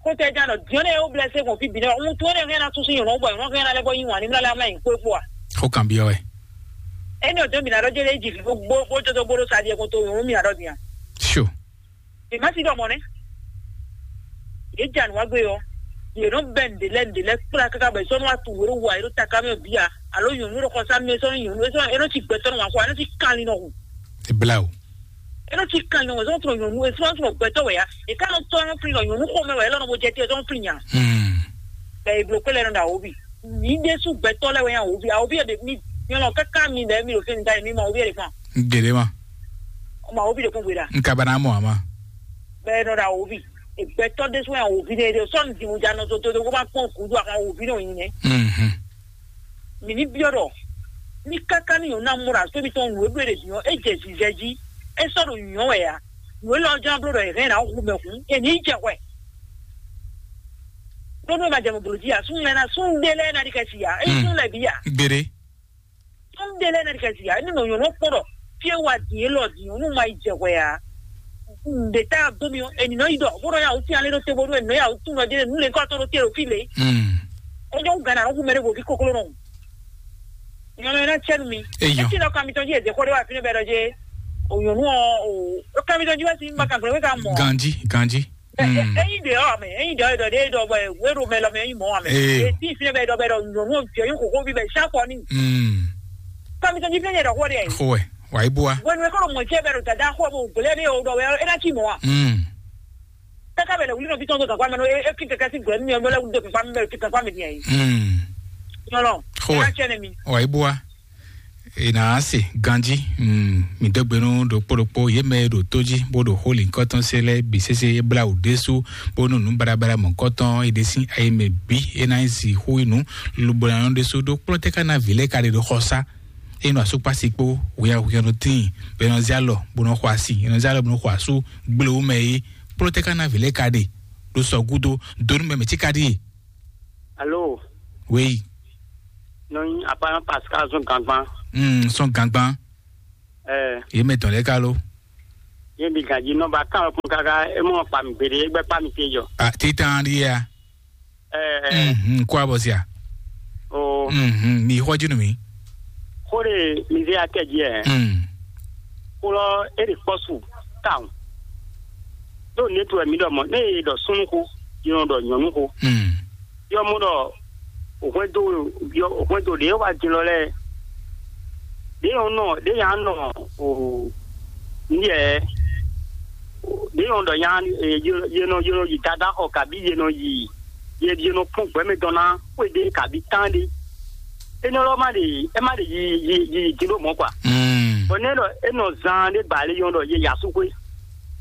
Kótó ɛ ján ɖɔ diɔ́n nɛ́ ó blɛ́ sé gbɔn fí bǐ nɛ́ ɔ́, wuntun énɛ́ hɛn ná súnsún nyɔ̌nu gbɔ nyɔ̌nu hɛn ná lɛ́ bɔ yí wǎn ní mlá lɛ́ amlá nyi kpó é kpó a? Xó kan byɔ́ wɛ. Énɛ́ ɔ́ dó mǐ ná ɖɔ jé lé jí vǐ bó bó jódó bó ɖó sa ɖiɛ kɔn tó nyɔ̌nu mǐ ná ɖɔ din a? Sure. Mǐ má sí ɖɔ mɔ̌ nɛ́. Yě ja nǔ wá gbé ɔ́, yě nɔ bɛ́ nǔɖé lɛ́ɛ nǔɖé lɛ́ɛ kplá káká bɔ è sɔ́ nɔ wá tunwun wě ɖo wa yě ɖo taká mɛ bǐ a? Alo nyɔ̌nu ɖo xɔsá mɛ sɔ́ nú nyɔ̌nu é sɔ́ é nɔ cí gbɛtɔ́ nɔ wǎn xɔ a é nɔ cí kanlin nɔ hu. Eblawo. É nɔ cí kanlin nɔ wǎn sɔ́ tunwun nyɔ̌nu é sɔ́ tunwun gbɛtɔ́ wɛ ya. È ká nɔ tɔ́ nɔ flin ɖɔ nyɔ̌nu xomɛ wɛ é lɔ nɔ bo jɛ te é sɔ́ nɔ flin nya. Hmm. Bɛ è bló kpé lɛ nɔ ɖo awǒvi. Mǐ ɖésú gbɛtɔ́ lɛ́ɛ wɛ nyí awǒvi. Awǒvi ɔ́ ɖe mí nyɔlɔ káká mi lɛ́ɛ mi ɖo fínɛ́ da mi ma awǒvi ɛ ɖe kpán. Gěɖé ma. Ọmọ awǒvi ɖe kún gbe ɖa. N ka ba ná mɔ àmá. Bɛ nɔ ɖo awǒvi. Gbɛtɔ́ ɖésú wɛ awǒvi ɖe ɖe sɔ́ nìdìmú ja nɔ tó tó tó kó má kpɔ́n gǔdo àwọn awǒvi nɔ nyi nɛ. Mhm. Mǐ ní byɔ́ ɖɔ ní káká ní nyɔ̌nu ná mɔ ɖo asú mitɔn nǔ e bló ɖe din ɔ́, é jɛ zizɛ jí, é sɔ́ ɖo nyɔ̌ wɛ ǎ. Nǔ élɔ́ ján bló ɖɔ è hɛn ná hu mɛ hǔn, è ní jɛ hwɛ. Ɖó nú è ma jɛ mɔ blǒ jí ǎ, súnnu lɛ́ɛ ná súnnu ɖé lɛ́ɛ ná ɖi kɛ si ǎ, é nyí súnnu lɛ́ɛ bǐ ǎ. Gbére. Súnnu ɖé lɛ́ɛ ná ɖi kɛ si ǎ, é ní nɔ nyɔ̌nu kpɔ́n ɖɔ fí e wa din élɔ́ din ɔ́, nú ma yi jɛ hwɛ ǎ. Nǔɖé tá dó mi ɔ́, è nǐ nɔ yi ɖɔ bó nɔ ya wǔ sín alé ɖó te bónú è nǐ nɔ ya wǔ tún nɔ jɛ nǔ lě kɔ́ tó ɖó te ɖo fí lě. Mm. É nyɔ́ wú gǎn ná nɔ hu mɛ ɖé vo fí kokló nɔ. Nyɔnu ɛ ná tsɛ nú mi. Eyɔ. Etí nɔ kan mitɔn jí èdè xó ɖé wá fínɛ́ bɛ́ ɖɔ jé. O nyɔnu ɔ o kan mitɔn jí wá sí ma kan gbɛ́ wé ka mɔ. Ganji, ganji. Ɛ- ɛ- Mm. Eyin ɖe ɔ mɛ eyin ɖe ɔ ɖe ɖɔ bɛ wéɖo mɛ lɔ mɛ eyin mɔ amɛ. Ee. Etí fínɛ́ bɛ ɖɔ bɛ ɖɔ nyɔnu ɔ jɛ yín kókó bí bɛ sá kɔ ní. Mm. Kan mitɔn jí fínɛ́ yɛ ɖɔ xó ɖe. Xó wɛ, wà á yí bú wa. Wenu ekɔ mɔ jɛ bɛ ɖo dada xó bɛ ògbélé ɖe o ɖɔ wɛ ɛ ná tí mɔ wa. Mm. Kaka bɛ lɛ wuli nɔ bitɔn do gagba mɛ no e e ki kɛkɛ si gbɛ mi ɔ lɛ wuli do gagba mi bɛ ki gagba mi diɛ yi. Mm. Nyɔlɔ. Xó wɛ. Ɛ ná tsɛ ne mi. Wà á yí bú wa. Ena ase ganji. Mm, mi dó gbe nú ɖokpó ɖokpó yě mɛ e ɖo tó jí bó ɖo xó lǐnkɔ́tɔn se lɛ́ɛ bǐ sésé é blá wǔ ɖésú bónú nǔ baɖabaɖa mɔ̌kɔtɔn é ɖe sín ayi mɛ bǐ é ná nyí zi xó yi nǔ lobo ná nɔ ɖésú ɖó kplɔ́ tɛ́ ká ná vǐ lɛ́ɛ ka ɖe ɖo xɔsá. É nɔ asúkpási kpó hwɛyahwɛyanu tíin bɔ é nɔ zé alɔ bó nɔ xɔ asi, é nɔ zé alɔ bó nɔ xɔ asú gblewú mɛ é. Kplɔ́ tɛ́ ká ná vǐ lɛ́ɛ ka ɖe ɖo sɔ gúdo dó nú mɛ mɛ cí ka ɖíe. Alo. Wéyi. Nɔ nyi apa Pascal zɔn gangban. Hmm, sɔn gangban. Ɛ, Ye mɛ tɔn lɛ ka lo. Ye bi ganji nɔ ba kan kún kaka e mɔ pa mi gbede e gbɛ pa mi te jɔ. Ah, titan di ya. Ɛ, ɛ, Mhm, kwa bɔ sia. O, Mhm, mi xɔ jinu mi. Xo de mi ze akɛ ji ɛ. Hmm. Xo lɔ e de kpɔsu taun. Do ne tu mi dɔ mɔ ne ye dɔ sunu ko, ye nɔ dɔ nyɔnu ko. Hmm. Yɔ mɔ dɔ hwɛndo yɔ hwɛndo ɖe wa din lɔ lɛ. Ɖe yɔ nɔ ɖe ya nɔ o ni yɛ ɖe yɔ dɔ ya ye nɔ ye nɔ yi dada xɔ kabi ye nɔ yi ye ye nɔ kpɔn gbɛmɛ dɔn na xwe ɖe kabi tan ɖe. Enɔ lɔ ma ɖe e ma ɖe yi yi yi din ɖo mɔ kwa. Hmm. Bɔn ne ɖɔ e nɔ zan ɖe ba ale yɔ dɔ ye yasu xwe.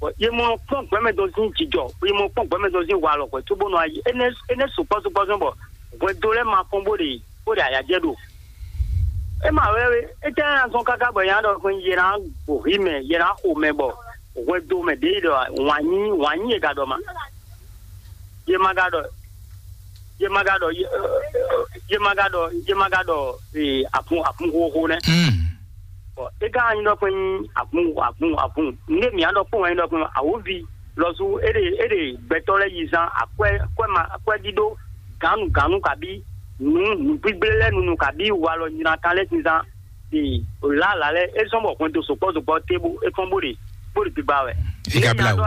Bɔn ye mɔ kpɔn gbɛmɛ dɔn sin jijɔ ye mɔ kpɔn gbɛmɛ dɔn sin walɔ xwe tso bɔ nɔ ayi ene ene sukpɔ sukpɔ sɔn bɔ hwɛndo lɛ ma fɔn bó ɖe bó ɖe ayajɛ ɖo. E ma wɛ wɛ e tɛ na sɔn kaka bɔ ya ɖɔ xwe ye na gbo hi mɛ ye na xo mɛ bɔ hwɛndo mɛ ɖe ɖɔ wanyi wanyi ye ga ɖɔ ma. Ye ma ga ɖɔ ye ma ga ɖɔ ye ma ga ɖɔ ye ma ga ɖɔ ee akun akun xoxo nɛ. Hmm. Bɔn e ka nyi ɖɔ kpɛn akun akun akun nde mia ɖɔ kpɔn wɛ nyi ɖɔ kpɛn awovi lɔsu e ɖe e ɖe gbɛtɔ lɛ yi zan akwɛ kwɛ ma akwɛ ɖiɖo ganu ganu kabi nu nu gbigble lɛ nunu kabi walɔ nyina kan lɛ sin zan. Ee, lǎlǎ lɛ́ɛ é zɔ́n bɔ hwɛndo sukpɔ́ sukpɔ́ tébu é kɔn bó ɖe bó ɖe gbigba wɛ. É ka blá wǔ.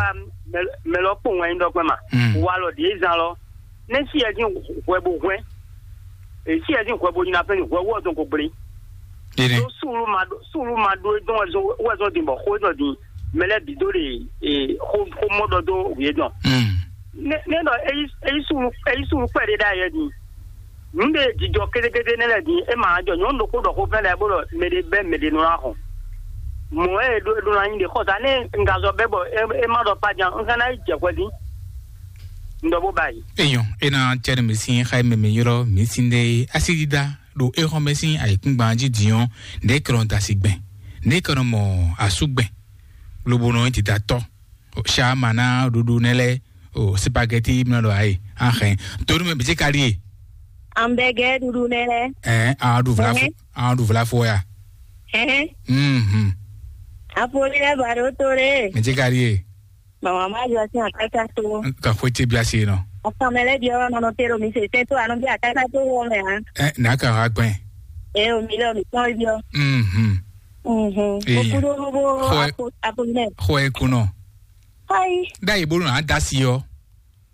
Mɛ lɔ kpó wɛn nyí ɖɔ kpɛ́n ma. Mm. Walɔ ɖě zan lɔ, nɛ́ sí yɛ dín hwɛ bó hwɛ́n. È sí yɛ dín hwɛ bó nyina fɛ́n hwɛ wú ɔ́ zɔn ko gblé. Ɖénɛ́. Ɖó súlu ma ɖó súlu ma ɖó é dɔn wɛ zɔn wɛ zɔn din bɔ xó é zɔn din mɛ lɛ́ɛ bǐ dó ɖe xó xó mɔ ɖɔ dó wǔ é dɔn. Mm. Nɛ́ nɛ́ ɖɔ é yí é yí súlu é yí súlu kpɛɖé ɖ'ayɛ din. Nǔ ɖe jijɔ kétékété nɛ́ lɛ́ɛ din é ma jɔ nyɔ̌nu ɖokpó ɖɔ xó fɛ́n lɛ́ɛ bó ɖɔ mɛ ɖé bɛ́ mɛ ɖé nɔ ná xɔn. Mɔ̌ e ɖó ɖó ná nyí ɖě xɔ sa nɛ́ un ka zɔ bɛ́ bɔ é é má ɖɔ kpá din un ka ná yi jɛ hwɛ dín. Un ɖɔ bó ba yi. Eyɔn, é ná cɛ́ nú mi sín xá e mɛ mi ylɔ́ mi sín ɖe asídídá ɖo é xɔ́n mɛ sín ayǐkúngban jí din ɔ́, nɛ̌ kɛ nɔ da asi gbɛn? Nɛ̌ kɛ nɔ mɔ asú gbɛn? Lobo nɔ yi dida tɔ́. Sha ma ná ɖuɖu nɛ lɛ o spaghetti mlɔ ɖo ayi axɛ. Tonu mɛ bìtí ka ɖie? Ambɛgɛ ɖuɖu nɛ lɛ. Ɛ, an ɖu vla fo, an ɖu vla fo ya. Ɛhɛn. Mhm. Apoli lɛ ba ɖo to ɖe. Mɛ ti ka ɖie? Mama ma jɔ sin akata to. Ka xwe ti bia si nɔ. Akamɛ lɛ biɔ nɔ nɔ te ɖo mi se tɛ to anɔ bi akata to wɔ mɛ a. Ɛ, na ka ha gbɛn. Ɛ, o mi lɛ o mi kpɔn biɔ. Mhm. Mhm. Eya. Okudo bo Xɔ ɛ- apo apo nɛ. Xɔ ɛ kunɔ. Ayi. Ɖ'ayǐ bónú à dá si ɔ́,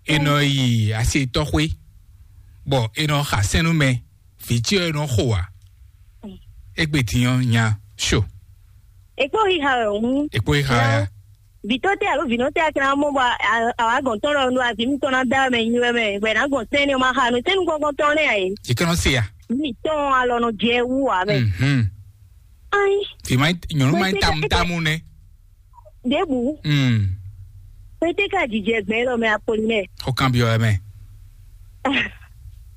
è nɔ yi asi tɔxwé, bɔ è nɔ xa sɛ́n nú mɛ, vǐ ce ɔ́ è nɔ xo ǎ. Égbé din ɔ́ nya so. Èkpó xixa wɛ òun. Èkpó xixa wɛ a? Vǐtɔ́ tɛ alo vǐnɔ tɛ akɛnɛ amɔ bɔ àwa gɔn tɔn lɔ nu avi mi tɔn na da mɛ nyi wɛ mɛ wɛ na gɔn sɛn ne ma xa nu sɛn nu gɔngɔn tɔn ne ayi. Yě kɛ nɔ se a? Mi tɔn alɔ nɔ jɛ wu wa mɛ. Mhm. Ayi. Fi ma nyɔnu ma Wɛ, tamu tamu nɛ. Ɖěbǔ. Mm. Pété ka jijɛ gbɛn lɔ mɛ Apolinɛ. Xɔ kan byɔ mɛ.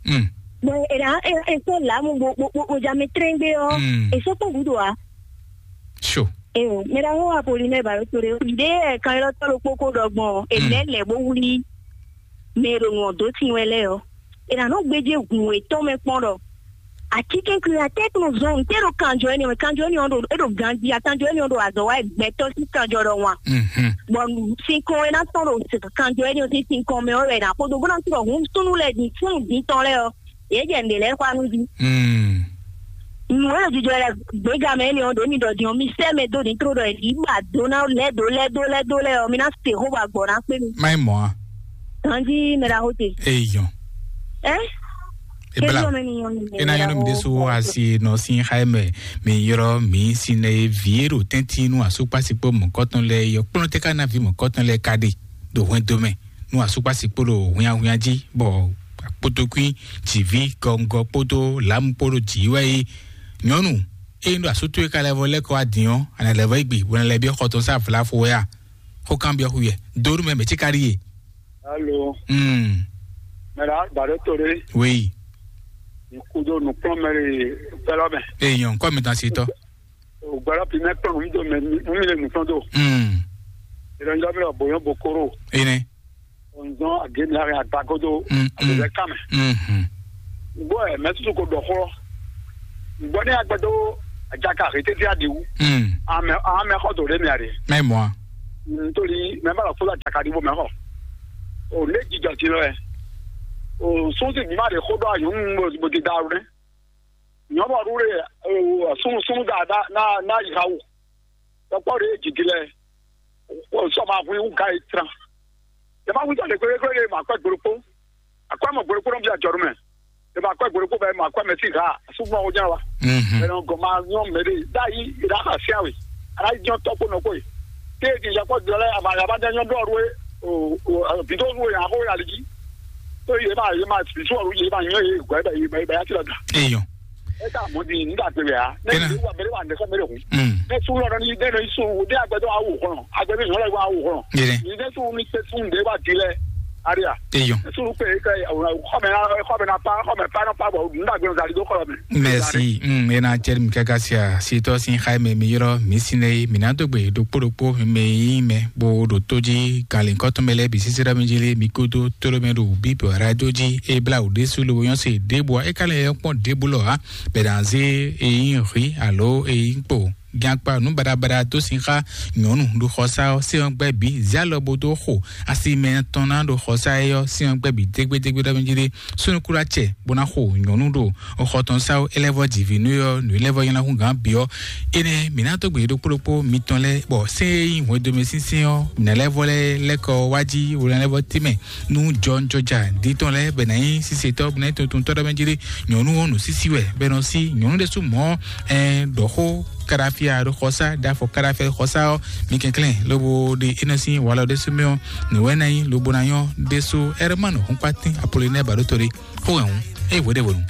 Mm. Bɔn èɖà èso làámu bó bó bó bó ja mi trɛ́ngbé ɔ́. Mm. Èso kpɔ́n gúdo a. So. Ee, mɛ ɖaxó Apolinɛ bàlótore ɖé kan ylɔ́ tɔ́ ɖokpó kó ɖɔ gbɔn èlɛ́ lɛ̌ bó wlí mɛ e ɖo nǔ ɔ́ dó sin wɛ lɛ́ɛ ɔ́. È nǎ nɔ gbéjé hǔn yětɔn mɛ kpɔ́n ɖɔ atínkɛnkwín atɛ́ nɔ zɔn ntɛ́ ɖo kanjɔ énɛ́ mɛ, kanjɔ énɛ́ ɔ́ ɖo é ɖo ganjí a kanjɔ énɛ́ ɔ́ ɖo azɔ̌ wa gbɛtɔ́ sín kanjɔ ɖɔ wan. Mhm. Bɔ sinkɔn e ná tɔn ɖo kanjɔ énɛ́ ɔ́ sín sinkɔn mɛ ɔ́ wɛ è nǎ kpódó bó ná tɔn ɖɔ hǔn súnnu lɛ́ɛ din súnnu din tɔn lɛ́ɛ ɔ́, yě jɛ nǔɖé lɛ́ɛ xwá nú jí. Mm. Nǔ e ɖo jijɔ lɛ gběga mɛ énɛ́ ɔ́ ɖě mi ɖɔ din ɔ́, mi sɛ́ mɛ dó din tró ɖɔ è nǐ ba dó ná lɛ́ dó lɛ́ dó lɛ́ dó lɛ́ ɔ́, mi ná se xó bɔ agbɔ̌ ná kpé mi. Má yi mɔ̌ a? Ganjí mɛ ɖaxó te. Eyɔn. Ɛ? Ebla. Ena yɔnɔ mi ɖésú asi nɔ sín xá mɛ mi yrɔ mi si nɛ vi ero tɛnti nu asukpasi kpo mɔkɔtɔn lɛ yɔ kplɔn tɛ ka na vi mɔkɔtɔn lɛ ka ɖe ɖo hwɛndo mɛ nu asukpasi kpo ɖo hwiahwia jí bɔ kpotokui dzivi gɔngɔ kpodo lamu kpodo dzi wɛ yi nyɔnu eye ɖo asutue ka lɛ vɔ lɛ kɔ adin ɔ ana lɛ vɔ egbe bɔ na lɛ bi xɔtɔn sa vlafo wɛ a xɔ kan bi ɔxu yɛ donu mɛ mɛ tsi ka ɖi ye. Alo. Mm. Mɛra gbàdé torí. Oui. Kudo nukplɔn mɛri fɛlɛ mɛ. Eyɔn kɔ mi tán si tɔ. Gbɛlɛ pi mɛ kplɔn mi do mɛ mi le nukplɔn do. Mm. Ìrẹ̀njọ́ mi lọ bòyán bokoro. Ene. Ònzɔn àgémi láàrin àgbàgodo. Mm, mm. Àgbẹ̀bẹ̀ kàmẹ́. Mhm. Gbọ́ ẹ̀ mẹ́tútù kò dọ̀kọ́. Gbɔ ne agbɛdo ajaka hete ti aɖiwu. Hmm. Ame ame xɔ do ɖe mɛ aɖe. Mɛ mɔ. Ntoli mɛ ba la fo ajaka ɖiwo mɛ xɔ. O ne jijɔ ti lɔ ɛ. O sunsi bi ma ɖe xo ɖɔ anyɔnu bo ti da awu ne. Nyɔnu aɖu ɖe o sunu sunu da da na na yi ha wu. Tɔkpɔ ɖe jiji lɛ. O sɔ ma hu iwu ga yi tran. Yɛ ma hu tɔ le kpekpe ɖe ma kɔ gbolo kpo. Akɔ mɔ gbolo kpo nɔ bi ajɔ ɖo mɛ. Yɛ ma kɔ gbolo kpo bɛ ma kɔ mɛ ti ha. Sugbɔn o jɛn wa. Mhm. Ɛnɔ gɔn ma nyɔ mɛ ɖe. Da yi da ha sia we. Ala yi jɔn tɔ kpo nɔ kpo yi. Te ti yakɔ jɔ lɛ aba yaba jɛ nyɔ dɔ ru e. O o bido ru e aho ya li ji. To ye ma ye ma bisu ru ye ma nyɔ ye gbɛ bɛ ye bɛ ya ti la da. Eyɔn. E ka mɔ di n da gbe ya. Ne Kena. Ye wa bɛ wa ne ka mɛ de hu. Mm. Ne su lɔ ni ne ne su de agbɛdɔ awu kɔnɔ. Agbɛdɔ nyɔ lɛ wa awu kɔnɔ. Yɛrɛ. Ni ne su ni se su de wa di lɛ. Aria. Eyɔn. Ne su pe ka xɔmɛ xɔmɛ na pa xɔmɛ pa na pa bɔ n da gbe zali do xɔmɛ. Merci. Mm, ena cɛri mi kaka sia sitɔ sin xayi mɛ mi yɔrɔ mi sinɛ yi mi na dogbe ɖokpó ɖokpó mi yi mɛ bo ɖo tó jí galin kɔtɔn mɛ lɛ bi sisi ɖɔ mi jí lé mi kódó tóló mɛ ɖo bíbɔ radio jí e bla wò ɖésú lobo nyɔ́ se ɖěbǔ ɔ́ é ka lɛ yɔ kpɔ́n ɖěbǔ lɔ ǎ. Bɛ̌ ná zé eyín hwǐ alo eyín kpo gíakpa nǔ baɖabaɖa dó sin xá nyɔ̌nu ɖo xɔsá ɔ́ sɛ́n ɔ́ gbɛ́ bǐ zé alɔ bó dó xo asi mɛ tɔn ná ɖo xɔsá é ɔ́ sɛ́n ɔ́ gbɛ́ bǐ dégbédégbé ɖɔ mɛ jí ɖé súnnu kúɖá cɛ bó ná xo nyɔ̌nu ɖo xɔ tɔn sá ó é lɛ́ vɔ jǐví nú é ɔ́ nǔ é lɛ́ vɔ nyɔ́ná hú gǎn bǐ ɔ́. Énɛ́ mǐ ná dó gbe ɖokpó ɖokpó mitɔn lɛ́ɛ bɔ sɛ́n e nyí hwɛndo mɛ sínsɛ́n ɔ́ mǐ ná lɛ́ vɔ lɛ́ lɛ́ kɔ wá jí hwelɛ́nlɛ́vɔ tɛ́nmɛ nú jɔnjɔja ɖi tɔn lɛ́ɛ bɛ ná nyí sísetɔ́ bɛ ná nyí tuntuntɔ́ ɖɔ mɛ jí ɖé nyɔ̌nu ɔ́ nǔ sísí wɛ bɛ nɔ sí nyɔ̌nu ɖésú mɔ̌ ɛ ɖɔ xó káɖafia ɖo xɔsá ɖafɔ káɖafia ɖo xɔsá ɔ́ mi kɛnklɛ́n lobo ɖe é nɔ sín walɔ ɖésú mɛ ɔ́ nǔ wɛ ná nyí lobo ná nyɔ́ ɖésú ɛrɛmánu xúnkpátín apolinɛ́ baɖótó ɖé xó hɛn hǔn é hweɖévonu.